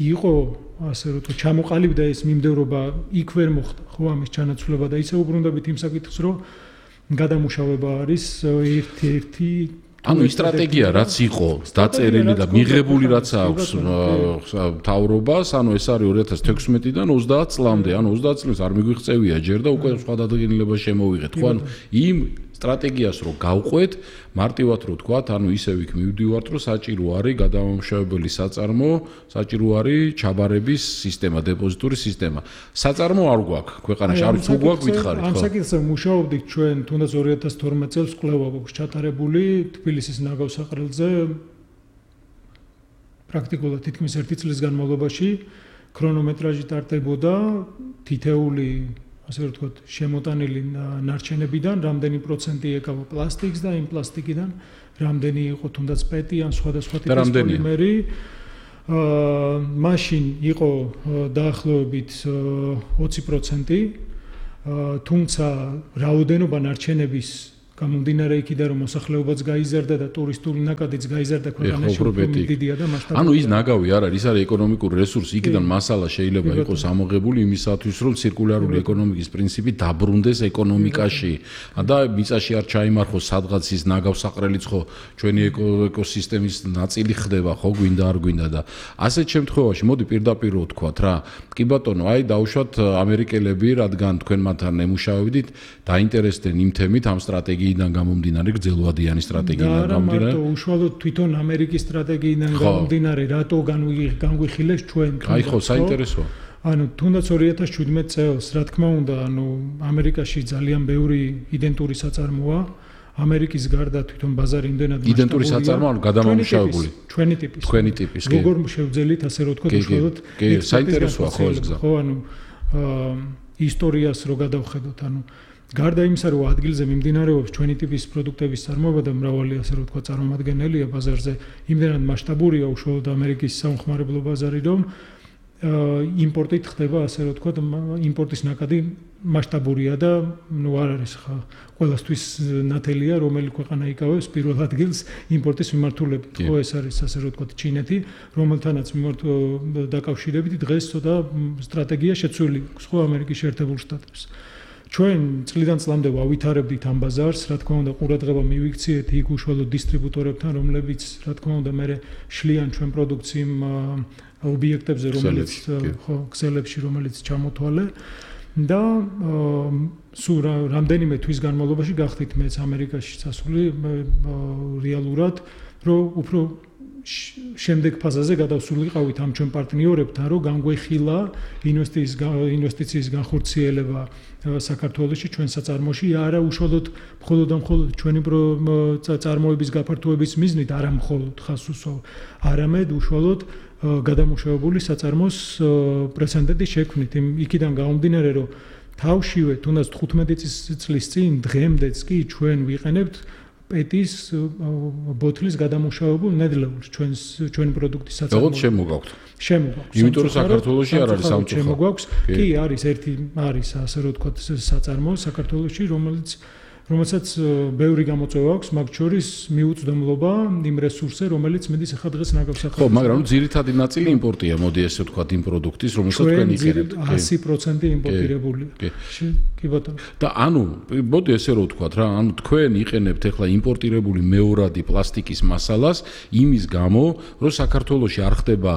იყო, ასე რომ ვთქვათ, ჩამოყალიბდა ეს მიმდევრობა, იქ ვერ მოხდა, ხო, ამის ჩანაცვლება და ისე უბრუნდებით იმ საკითხს, რომ გადამუშავება არის ერთ-ერთი ანუ ის სტრატეგია რაც იყო დაწერილი და მიღებული რაც აქვს მთავრობას, ანუ ეს არის 2016-დან 30 წლამდე, ანუ 30 წელს არ მიგვიღწევია ჯერ და უკვე სხვა დადგენილება შემოვიღეთ. ხო, ანუ იმ სტრატეგიას რო გავყვეთ, მარტივად რო თქვათ, ანუ ისევ იქ მივდივართ, რომ საჭირო არის გადამამუშავებელი საწარმო, საჭირო არის ჩაბარების სისტემა, დეპოზიტური სისტემა. საწარმო არ გვაქვს ქვეყანაში, არ თუ გვაქვს გითხარით, ხო? ამ საკითხზე მუშაობდით ჩვენ, თუნდაც 2012 წელს კვლევა გვაქვს ჩატარებული თბილისის ნაგავსაყრელზე პრაქტიკულად თითქმის 1 წლის განმავლობაში ქრონომეტრაჟი ტარდებოდა თითეული ასე ვთქვათ, შემოტანილი ნარჩენებიდან, რამდენი პროცენტი ეკავა პლასტიკს და იმ პლასტიკიდან რამდენი იყო თუნდაც პეტი ან სხვადასხვა ტიპის პოლიმერი. მაშინ იყო დაახლოებით 20%, თუმცა რაოდენობა ნარჩენების გამომდინარე იქიდან რომ მოსახლეობაც გაიზარდა და ტურისტული ნაკადიც გაიზარდა ქვეყანაში უფრო დიდია და მასშტაბური. ანუ ის ნაგავი არ არის, ის არის ეკონომიკური რესურსი, იქიდან მასალა შეიძლება იყოს ამოღებული იმისათვის, რომ ცირკულარული ეკონომიკის პრინციპი დაბრუნდეს ეკონომიკაში და მიწაში არ ჩაიმარხოს სადღაც ის ნაგავსაყრელიც ხო ჩვენი ეკოსისტემის ნაწილი ხდება, ხო გვინდა არ გვინდა და ასეთ შემთხვევაში მოდი პირდაპირ ვთქვათ რა, კი ბატონო, აი დაუშვათ ამერიკელები, რადგან თქვენ მათთან ემუშავებდით, დაინტერესდნენ იმ თემით ამ სტრატეგიით იდან გამომდინარე გრძელვადიანი სტრატეგიიდან გამომდინარე. და უშუალოდ თვითონ ამერიკის სტრატეგიიდან გამომდინარე, რატო განგვიხილეს ჩვენ. აი ხო, საინტერესოა. ანუ თუნდაც 2017 წელს, რა თქმა უნდა, ანუ ამერიკაში ძალიან ბევრი იდენტური საწარმოა. ამერიკის გარდა თვითონ ბაზარი იმდენად მასშტაბურია. იდენტური საწარმო, ანუ გადამამუშავებული. ჩვენი ტიპის. თქვენი ტიპის, კი. როგორ შევძელით ასე რომ ვთქვათ, უშუალოდ საინტერესოა ხო ეს გზა. ხო, ანუ ისტორიას რო გადავხედოთ, ანუ გარდა იმისა, რომ ადგილზე მიმდინარეობს ჩვენი ტიპის პროდუქტების წარმოება და მრავალი ასე რომ ვთქვათ წარმომადგენელია ბაზარზე, იმდენად მასშტაბურია უშუალოდ ამერიკის სამხმარებლო ბაზარი, რომ იმპორტით ხდება ასე რომ ვთქვათ, იმპორტის ნაკადი მასშტაბურია და ნუ არ არის ხა ყველასთვის ნათელია, რომელი ქვეყანა იკავებს პირველ ადგილს იმპორტის მიმართულებით. ხო, ეს არის ასე რომ ვთქვათ ჩინეთი, რომელთანაც დაკავშირებით დღეს ცოტა სტრატეგია შეცვლილი აქვს ხო ამერიკის შეერთებულ შტატებს. ჩვენ წლიდან წლამდე ვავითარებდით ამ ბაზარს, რა თქმა უნდა, ყურადღება მივიქციეთ იქ უშუალოდ დისტრიბუტორებთან, რომლებიც რა თქმა უნდა მე შლიან ჩვენ პროდუქციამ ობიექტებზე, რომელიც ხო ქსელებში, რომელიც ჩამოთვალე და სულ რამდენიმე თვის განმავლობაში გახდით მეც ამერიკაში წასული რეალურად, რომ უფრო შემდეგ ფაზაზე გადავსულიყავით ამ ჩვენ პარტნიორებთან, რომ განგვეხილა ინვესტიციის განხორციელება საქართველოში ჩვენ საწარმოში, არა უშუალოდ მხოლოდ ჩვენი წარმოების გაფართოების მიზნით, არა მხოლოდ ხას უსვავ, არამედ უშუალოდ გადამუშავებული საწარმოს პრეცედენტის შექმნით. იქიდან გამომდინარე, რომ თავშივე თუნდაც 15 წლის წინ დღემდეც კი ჩვენ ვიყენებთ პეტის ბოთლის გადამუშავებულ ნედლეულს ჩვენი პროდუქტის საწარმოო. როგორ შემოგაქვთ? შემოგაქვს. იმიტომ რომ საქართველოში არ არის სამწუხარო. შემოგაქვს. კი, არის ერთი არის ასე რომ ვთქვათ საწარმო საქართველოში, რომელსაც ბევრი გამოწვევა აქვს, მაგ შორის მიუწვდომლობა იმ რესურსზე, რომელიც მედის ახლა დღეს ნაგავსაყრელში. ხო, მაგრამ ძირითადი ნაწილი იმპორტია, მოდი ესე ვთქვათ იმ პროდუქტის, რომელსაც თქვენ იყენებთ. 100% იმპორტირებულია. კი ბატონო. და ანუ, მოდი ესე რომ ვთქვათ რა, ანუ თქვენ იყენებთ ახლა იმპორტირებული მეორადი პლასტიკის მასალას იმის გამო, რომ საქართველოში არ ხდება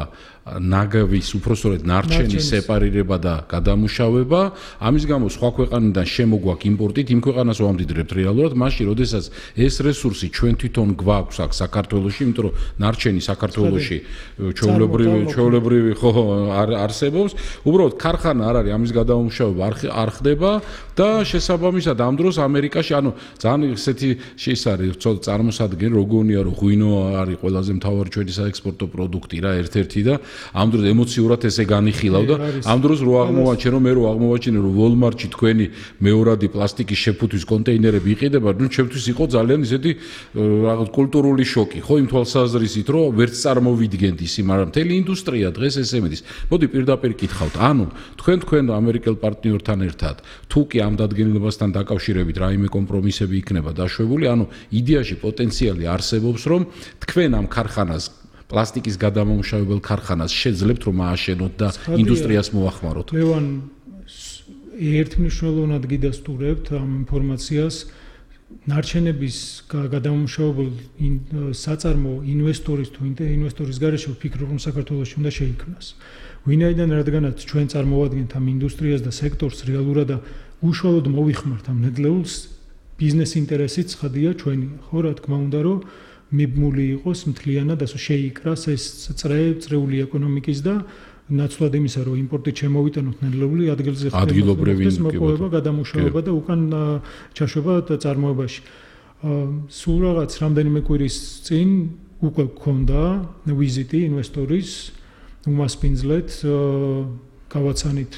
ნაგავის უпроსწორად ნარჩენის სეპარირება და გადამუშავება, ამის გამო სხვა ქვეყანიდან შემოგვაქვს იმპორტით, იმ ქვეყანას ვამდიდრებთ რეალურად, მაშინ როდესაც ეს რესურსი ჩვენ თვითონ გვაქვს აქ საქართველოში, იმიტომ რომ ნარჩენი საქართველოში ჩვეულებრივი ხო არსებობს, უბრალოდ ქარხანა არ არის, ამის გადამუშავება არ ხდება და შესაბამისად ამ დროს ამერიკაში, ანუ ძალიან ესეთი ის არის წარმოსადგენ, როგორია რომ ღვინო არის ყველაზე მთავარი ჩვენი საექსპორტო პროდუქტი რა, ერთ-ერთი და ამ დროს ემოციურად ესე განიხილავ და ამ დროს რო აღმოვაჩინე რომ Walmart-ში თქვენი მეორადი პლასტიკის შეფუთვის კონტეინერები იყიდება, ნუ ჩემთვის იყო ძალიან ისეთი რაღაც კულტურული შოკი, ხო, იმ თვალსაზრისით, რომ ვერც წარმოვიდგენთ ისი, მაგრამ მთელი ინდუსტრია დღეს ესე მიდის. მოდი პირდაპირ კითხავთ, ანუ თქვენ ამერიკელ პარტნიორთან ერთად, თუ კი ამ დადგენილებასთან დაკავშირებით რაიმე კომპრომისები იქნება დაშვებული, ანუ იდეაში პოტენციალი არსებობს, რომ თქვენ ამ ქარხანას პლასტიკის გადამამუშავებელ ქარხანას შეძლებთ რომ ააშენოთ და ინდუსტრიას მოახმაროთ. ლევან ერთმნიშვნელოვნად გიდასტურებთ ამ ინფორმაციას. ნარჩენების გადამამუშავებელ საწარმო ინვესტორის თუ ინვესტორის გარეშე ვფიქრობ, რომ საქართველოში უნდა შეიქმნას. ვინაიდან რადგანაც ჩვენ წარმოვადგენთ ამ ინდუსტრიას და სექტორს რეალურად და უშუალოდ მოვიხმართ ამ ნედლეულს, ბიზნეს ინტერესიც ცხადია ჩვენია, ხო, რა თქმა უნდა, რომ მიბმული იყოს მთლიანად ასე შეიკრას ეს წრეული ეკონომიკის და ნაცვლად იმისა, რომ იმპორტით შემოვიტანოთ ნედლეული ადგილზე ადგილობრივი მოპოვება, გადამუშავება და უკან ჩაშვება წარმოებაში. სულ რაღაც რამდენიმე კვირის წინ უკვე გქონდა ვიზიტი ინვესტორის უმასპინძლეთ გავაცანით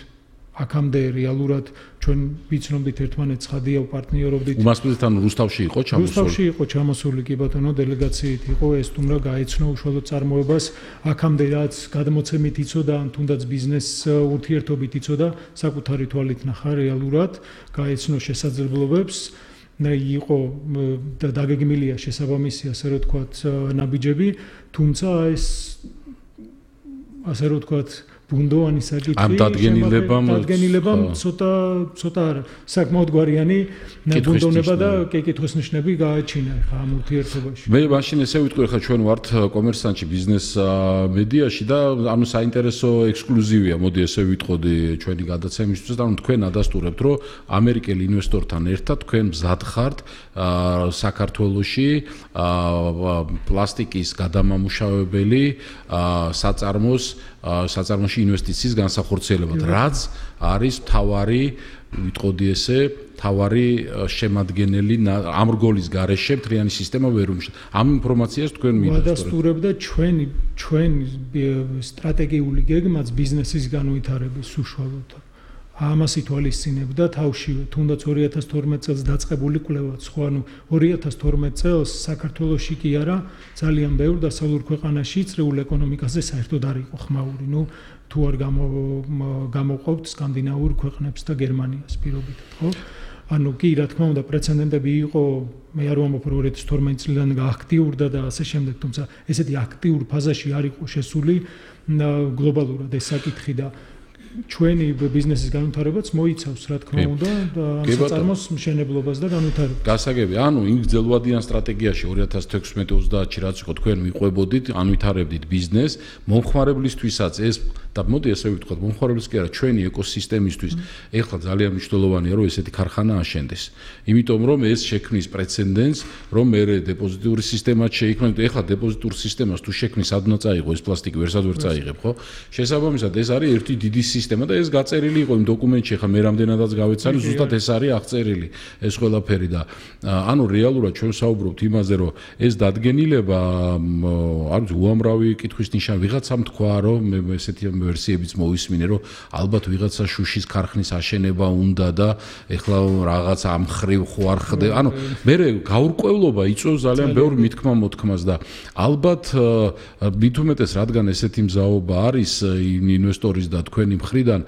აქამდე რეალურად ჩვენ ვიცნობდით ერთმანეთს ხადია პარტნიორობდით. უმასპინძლეთ ანუ რუსთავში იყო ჩამოსული. რუსთავში იყო ჩამოსული კი ბატონო დელეგაციით იყო ეს თუმცა გაეცნო უშუალოდ წარმოებას აქამდე რაც გადმოცემით იცოდა ან თუნდაც ბიზნეს ურთიერთობით იცოდა საკუთარი თვალით ნახა რეალურად გაეცნო შესაძლებლობებს იყო და დაგეგმილია შესაბამისი ასე რომ ვთქვათ ნაბიჯები თუმცა ეს ასე რომ ვთქვათ ბუნდოვანი საკითხი ამ დადგენილებამ ცოტა საკმაოდ გვარიანი ბუნდოვნება და კითხვის ნიშნები გააჩინა ხა ამ ურთიერთობაში. მე მაშინ ესე ვიტყვი ხა ჩვენ ვართ კომერსანტში ბიზნეს მედიაში და ანუ საინტერესო ექსკლუზივია მოდი ესე ვიტყოდი ჩვენი გადაცემისთვის და ანუ თქვენ ადასტურებთ რომ ამერიკელ ინვესტორთან ერთად თქვენ მზად ხართ საქართველოში პლასტიკის გადამამუშავებელი საწარმოში ინვესტიციის განსახორციელებად, რაც არის მთავარი, ვიტყოდი ესე, მთავარი შემადგენელი ამ რგოლის გარეშე მთლიანი სისტემა ვერ უმუშავებს. ამ ინფორმაციას თქვენ მიდასტურებთ და ჩვენ სტრატეგიული გეგმაც ბიზნესის განვითარების უშუალოდ ამას ითვალისწინებდა თავშივე, თუნდაც 2012 წელს დაწყებული კვლევაც, ხო, ანუ 2012 წელს საქართველოში კი არა, ძალიან ბევრ დასავლურ ქვეყანაში წრეულ ეკონომიკაზე საერთოდ არ იყო ხმაური. ნუ თუ არ გამოყვავთ სკანდინავურ ქვეყნებს და გერმანიას პირობითად, ხო? ანუ კი, რა თქმა უნდა, პრეცედენტები იყო, მე არ ვამბობ, რომ 2012 წლიდან გააქტიურდა და ასე შემდეგ, თუმცა ესეთი აქტიურ ფაზაში არ იყო შესული გლობალურად ეს საკითხი და ჩვენი ბიზნესის განვითარებაც მოიცავს, რა თქმა უნდა, ამ საწარმოს მშენებლობას და განვითარებას. გასაგები, ანუ იმ გრძელვადიან სტრატეგიაში 2016-30-ში რაც იყო თქვენ მიყვებოდით, ანვითარებდით ბიზნეს, მომხმარებლისთვისაც ეს და მოდი ესე ვიტყოთ, მომხმარებლის კი არა, ჩვენი ეკოსისტემისთვის ეხლა ძალიან მნიშვნელოვანია, რომ ესეთი ქარხანა აშენდეს. იმიტომ რომ ეს შექმნის პრეცედენტს, რომ მე დეპოზიტური სისტემაც შეიქმნა, ეხლა დეპოზიტურ სისტემას თუ შექმნის სად უნდა წაიღო ეს პლასტიკი, ვერსად ვერ წაიღებ, ხო? შესაბამისად ეს არის ერთი დიდი სისტემა და ეს გაწერილი იყო იმ დოკუმენტში, ხა მე რამდენადაც გავეცანი, ზუსტად ეს არის აღწერილი ეს ყველაფერი და ანუ რეალურად ჩვენ საუბრობთ იმაზე, რომ ეს დადგენილება არ ვიცი უამრავი კითხვის ნიშანი ვიღაცამ თქვა, რომ მე ესეთი ვერსიებიც მოვისმინე, რომ ალბათ ვიღაცა შუშის ქარხნის აშენება უნდა და ეხლა რაღაც ამ ხრივ ხო არ ხდება. ანუ მე გაურკვევლობა იწვევს ძალიან ბევრ მითქმა-მოთქმას და ალბათ მით უმეტეს რადგან ესეთი მზაობა არის ინვესტორის და თქვენი მხრიდან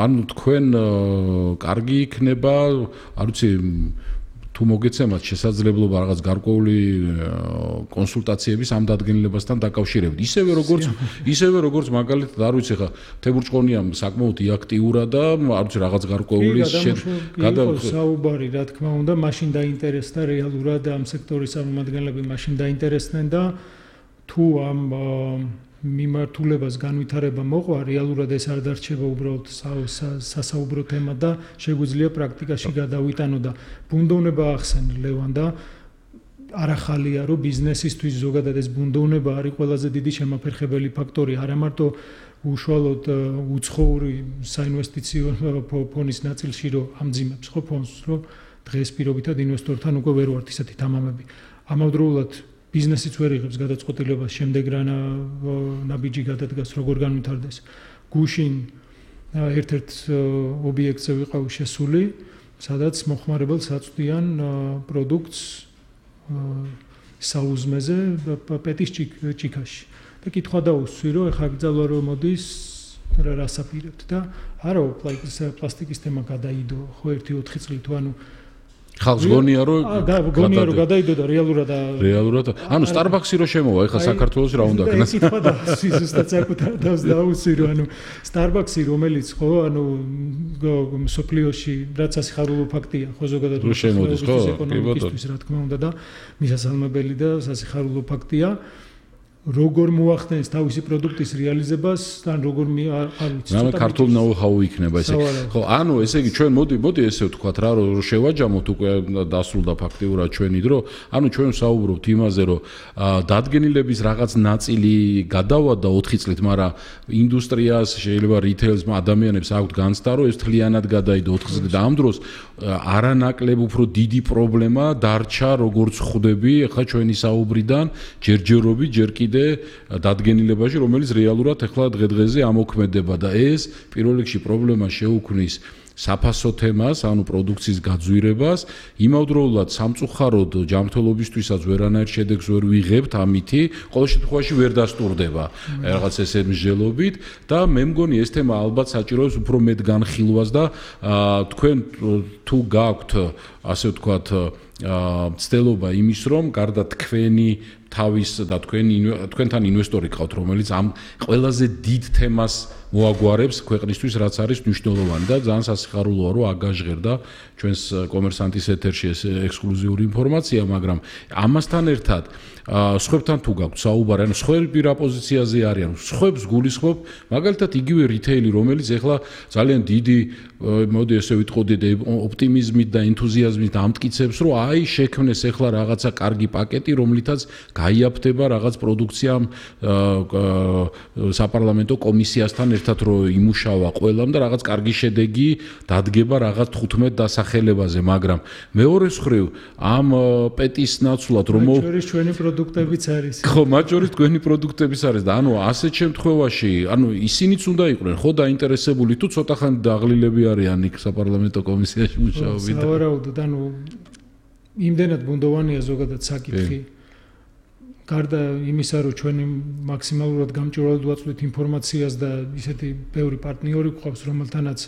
ანუ თქვენ კარგი იქნება, არ ვიცი თუ მოგეცემათ შესაძლებლობა რაღაც გარკვეული კონსულტაციების ამ დადგენილებასთან დაკავშირებით. ისევე როგორც მაგალითად არ ვიცი ხა თებურჭყონიამ საკმაოდ აქტიურა და არ ვიცი რაღაც გარკვეული საუბარი რა თქმა უნდა მაშინ დაინტერესდა რეალურად ამ სექტორის წარმომადგენლები მაშინ დაინტერესდნენ და თუ ამ მიმართულებას განვითარება მოყვა, რეალურად ეს არ დარჩება უბრალოდ სასაუბრო თემა და შეგვიძლია პრაქტიკაში გადავიტანო და ბუნდოვნება ახსენე ლევან და არახალია რომ ბიზნესისთვის ზოგადად ეს ბუნდოვნება არის ყველაზე დიდი შემაფერხებელი ფაქტორი, არა მარტო უშუალოდ უცხოური საინვესტიციო ფონის ნაწილში რომ ამძიმებს ხო ფონს, რომ დღეს პირობითად ინვესტორთან უკვე ვერ ვართ ისეთი თამამები. ამავდროულად ბიზნესიც ვერ იღებს გადაწყვეტილებას შემდეგ რა ნაბიჯი გადადგას როგორ განვითარდეს. გუშინ ერთ-ერთ ობიექტზე ვიყავ შესული, სადაც მოხმარებელს აწვდიან პროდუქტს საუზმეზე პეტის ჭიქაში. და კითხვა დაუსვი, რომ ეხლა გძალვა რომ მოდის რას აპირებთ და არა პლასტიკის თემა გადაიდო ხო 1-4 წლით, ანუ ხალხს გონია რომ გადაიდო და რეალურად ანუ Starbucks-ი რო შემოვა ეხლა საქართველოს რა უნდა ქნას ეკითხა და ზუსტად საკუთარ თავს დაუსვირო ანუ Starbucks-ი რომელიც ხო ანუ სოფლიოში რაც ასიხარულო ფაქტია ხო ზოგადად რო შემოდის ხო ეკონომიკისთვის რა თქმა უნდა და მისასალმებელი და სასიხარულო ფაქტია როგორ მოახდენს თავისი პროდუქტის რეალიზებას ან როგორ არ ვიცი ცოტა ქართულ know-how იქნება ესე ხო ანუ ესე იგი ჩვენ მოდი ესე ვთქვათ რა რომ შევაჯამოთ უკვე დასრულდა ფაქტიურად ჩვენი დრო ანუ ჩვენ საუბრობთ იმაზე რომ დადგენილების რაღაც ნაწილი გადავადა 4 წლით მაგრამ ინდუსტრიას შეიძლება რიტეილს ადამიანებს აქვთ განცდა რომ ეს თლიანად გადაიდო 4 წლით და ამ დროს არანაკლებ უფრო დიდი პრობლემა დარჩა როგორც ხვდები ახლა ჩვენი საუბრიდან ჯერჯერობით ჯერ კიდე დადგენილებაში რომელიც რეალურად ახლა დღე-დღეზე ამოქმედება და ეს პირველ რიგში პრობლემა შეუქმნის საფასო თემას, ანუ პროდუქციის გაძვირებას, იმავდროულად სამწუხაროდ ჯანმრთელობისთვისაც ვერანაირ შედეგს ვერ ვიღებთ ამითი, ყოველ შემთხვევაში ვერ დასტურდება რაღაც ესე მსჯელობით და მე მგონი ეს თემა ალბათ საჭიროებს უფრო მეტ განხილვას და თქვენ თუ გაქვთ ასე ვთქვათ ცდელობა იმის რომ გარდა თქვენი თავის და თქვენთან ინვესტორი ყავთ რომელიც ამ ყველაზე დიდ თემას მოაგვარებს ქვეყნისთვის რაც არის მნიშვნელოვანი და ძალიან სასიხარულოა რომ აგაჟღერდა ჩვენს კომერსანტის ეთერში ეს ექსკლუზიური ინფორმაცია მაგრამ ამასთან ერთად სხვებთან თუ გაქვთ საუბარი ანუ სხვები რა პოზიციაზე არიან სხვებს გულისხმობ მაგალითად იგივე რიტეილი რომელიც ეხლა ძალიან დიდი მოდი ესე ვიტყოდი ოპტიმიზმით და ენთუზიაზმით ამტკიცებს რომ აი შექმნეს ეხლა რაღაცა კარგი პაკეტი რომლითაც გაიაფთება რაღაც პროდუქცია საპარლამენტო კომისიასთან ერთად რომ იმუშავა ყველამ და რაღაც კარგი შედეგი დადგება რაღაც 15 დასახელებაზე მაგრამ მეორე მხრივ ამ პეტის ნაცვლად რომ მაჯორის ჩვენი პროდუქტებიც არის ხო მაჯორის თქვენი პროდუქტებიც არის და ანუ ასეთ შემთხვევაში ანუ ისინიც უნდა იყვნენ ხო დაინტერესებული თუ ცოტა ხანი დაღლილები არიან იქ საპარლამენტო კომისიაში მუშაობენ და სავარაუდოდ ანუ იმდენად ბუნდოვანია ზოგადად საკითხი გარდა იმისა, რომ ჩვენი მაქსიმალურად გამჭვირვალედ ვაწვდით ინფორმაციას და ისეთი ბევრი პარტნიორი გვყავს, რომელთანაც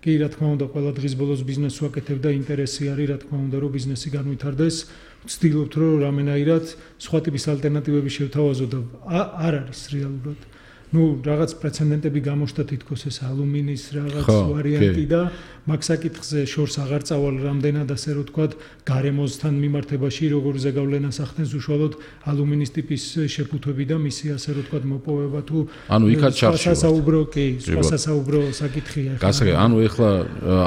კი რა თქმა უნდა ყველა დღის ბოლოს ბიზნესს ვაკეთებ და ინტერესი არის რა თქმა უნდა რომ ბიზნესი განვითარდეს, ვცდილობთ რომ რამენაირად სხვა ტიპის ალტერნატივები შევთავაზოთ და არ არის რეალურად. ნუ რაღაც პრეცედენტები გამოჩნდა თითქოს ეს ალუმინის რაღაც ვარიანტი და მაგ საკითხზე შორს აღარ წავალ რამდენად ასე რომ თქვა გარემოსთან მიმართებაში როგორ ზეგავლენას ახდენს უშუალოდ ალუმინის ტიპის შეფუთვები და მისი ასე რომ თქვა მოპოვება თუ ანუ იქაც ჩარჩება სასაუბრო საკითხია გასაგე ანუ ეხლა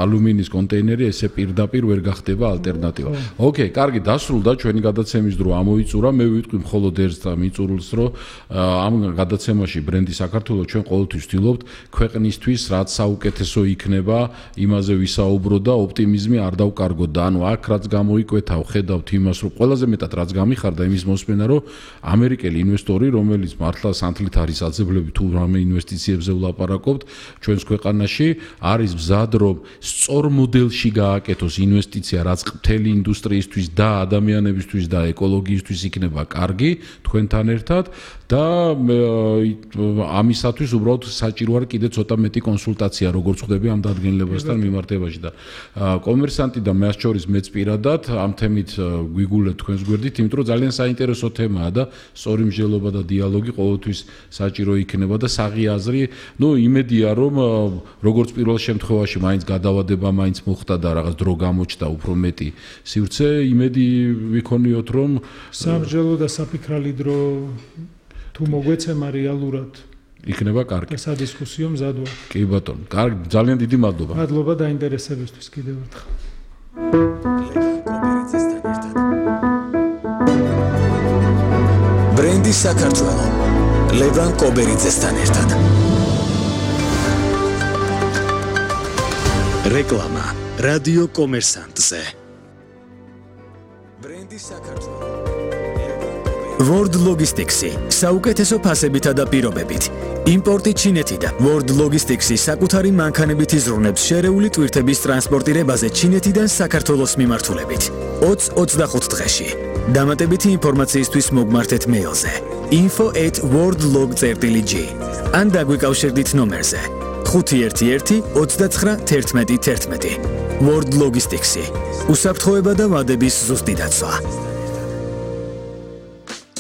ალუმინის კონტეინერი ესე პირდაპირ ვერ გახდება ალტერნატივა ოკეი კარგი დასრულდა ჩვენი გადაცემის დრო ამოიწურა მე ვიტყვი მხოლოდ ერთს და მიწურულს რომ ამ გადაცემაში ბრენდი საქართველოს ჩვენ ყოველთვის ვთილობთ ქვეყნისთვის რაც საუკეთესო იქნება იმაზე ვისაუბროთ და ოპტიმიზმი არ დავკარგოთ და ანუ აქ რაც გამოიკვეთა ვხედავთ იმას რომ ყველაზე მეტად რაც გამიხარდა იმის მოსმენა რომ ამერიკელი ინვესტორი რომელიც მართლა სანთლით არის აძებლები თუ რამე ინვესტიციებზე ვლაპარაკობთ ჩვენს ქვეყანაში არის მზად რომ სწორ მოდელში გააკეთოს ინვესტიცია რაც მთელი ინდუსტრიისთვის და ადამიანებისთვის და ეკოლოგიისთვის იქნება კარგი თქვენთან ერთად და ამისათვის უბრალოდ საჭირო არის კიდე ცოტა მეტი კონსულტაცია როგორც ხვდები ამ დადგენილებასთან მიმართებაში და კომერსანტი და მას შორის მეც პირადად ამ თემით გვიგულეთ თქვენს გვერდით იმიტომ რომ ძალიან საინტერესო თემაა და სწორი მსჯელობა და დიალოგი ყოველთვის საჭირო იქნება და საღი აზრი ნუ იმედია რომ როგორც პირველ შემთხვევაში მაინც გადავადება მაინც მოხდა და რაღაც დრო გამოჩნდა უფრო მეტი სივრცე იმედი ვიქონიოთ რომ სამსჯელო და საფიქრალი დრო თუ მოგვეცემა რეალურად იქნება კარგი. და სადისკუსიო მზად ვარ. კი ბატონო, კარგი, ძალიან დიდი მადლობა. მადლობა დაინტერესებისთვის კიდევ ერთხელ. ბრენდი საქართველო. ლევან კობერიძესთან ერთად. რეკლამა რადიო კომერსანტზე. ბრენდი საქართველო. World Logistics-ი საუკეთესო ფასებითა და პირობებით. იმპორტი ჩინეთიდან. World Logistics-ი საკუთარი მანქანებით იზრუნებს შერეული ტვირთების ტრანსპორტირებაზე ჩინეთიდან საქართველოს მიმართულებით. 20-25 დღეში. დამატებითი ინფორმაციისთვის მოგმართეთ მეილზე info@worldlog.gr ან დაგვიკავშირდით ნომერზე 511 29 11 11. World Logistics-ი. უსაფრთხოება და ვადების ზუსტი დაცვა.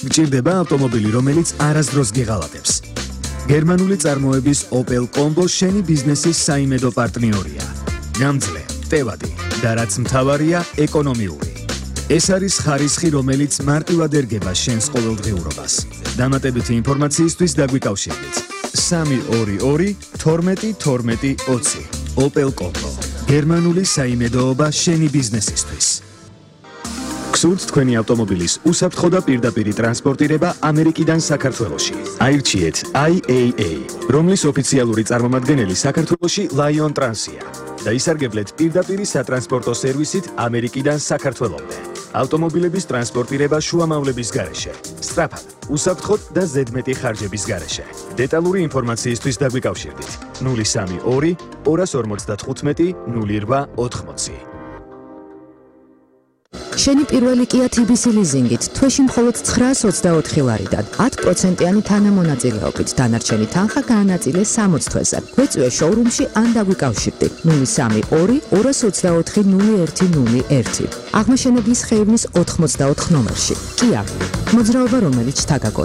გჭირდება ავტომობილი, რომელიც არასდროს გეღალატებს. გერმანული წარმოების Opel Combo შენი ბიზნესის საიმედო პარტნიორია. გამძლე, ტევადი და რაც მთავარია, ეკონომიური. ეს არის ხარისხი, რომელიც მარტივად ერგება შენს ყოველდღიურობას. დამატებითი ინფორმაციისთვის დაგვიკავშირდით. 322 12 12 20. Opel Combo. გერმანული საიმედოობა შენი ბიზნესისთვის. გსურთ თქვენი ავტომობილის უსაფრთხო და პირდაპირი ტრანსპორტირება ამერიკიდან საქართველოში. აირჩიეთ IAA, რომლის ოფიციალური წარმომადგენელი საქართველოში Lion Trans-ია და ისარგებლეთ პირდაპირი სატრანსპორტო სერვისით ამერიკიდან საქართველომდე. ავტომობილების ტრანსპორტირება შუამავლების გარეშე, სწრაფად, უსაფრთხოდ და ზედმეტი ხარჯების გარეშე. დეტალური ინფორმაციისთვის დაგვიკავშირდით 032 255 0880. შენი პირველი Kia TBC ლიზინგით თვეში მხოლოდ 924 ლარიდან 10%-იანი თანამონაწილეობით დანარჩენი თანხა გაანაწილე 60 თვეზე. გვეწვიე შოურუმში ან დაგვიკავშირდი 032 224 0101. აღმაშენებლის ხეივნის 84 ნომერში. Kia, მოძრაობა რომელიც თაგაგო.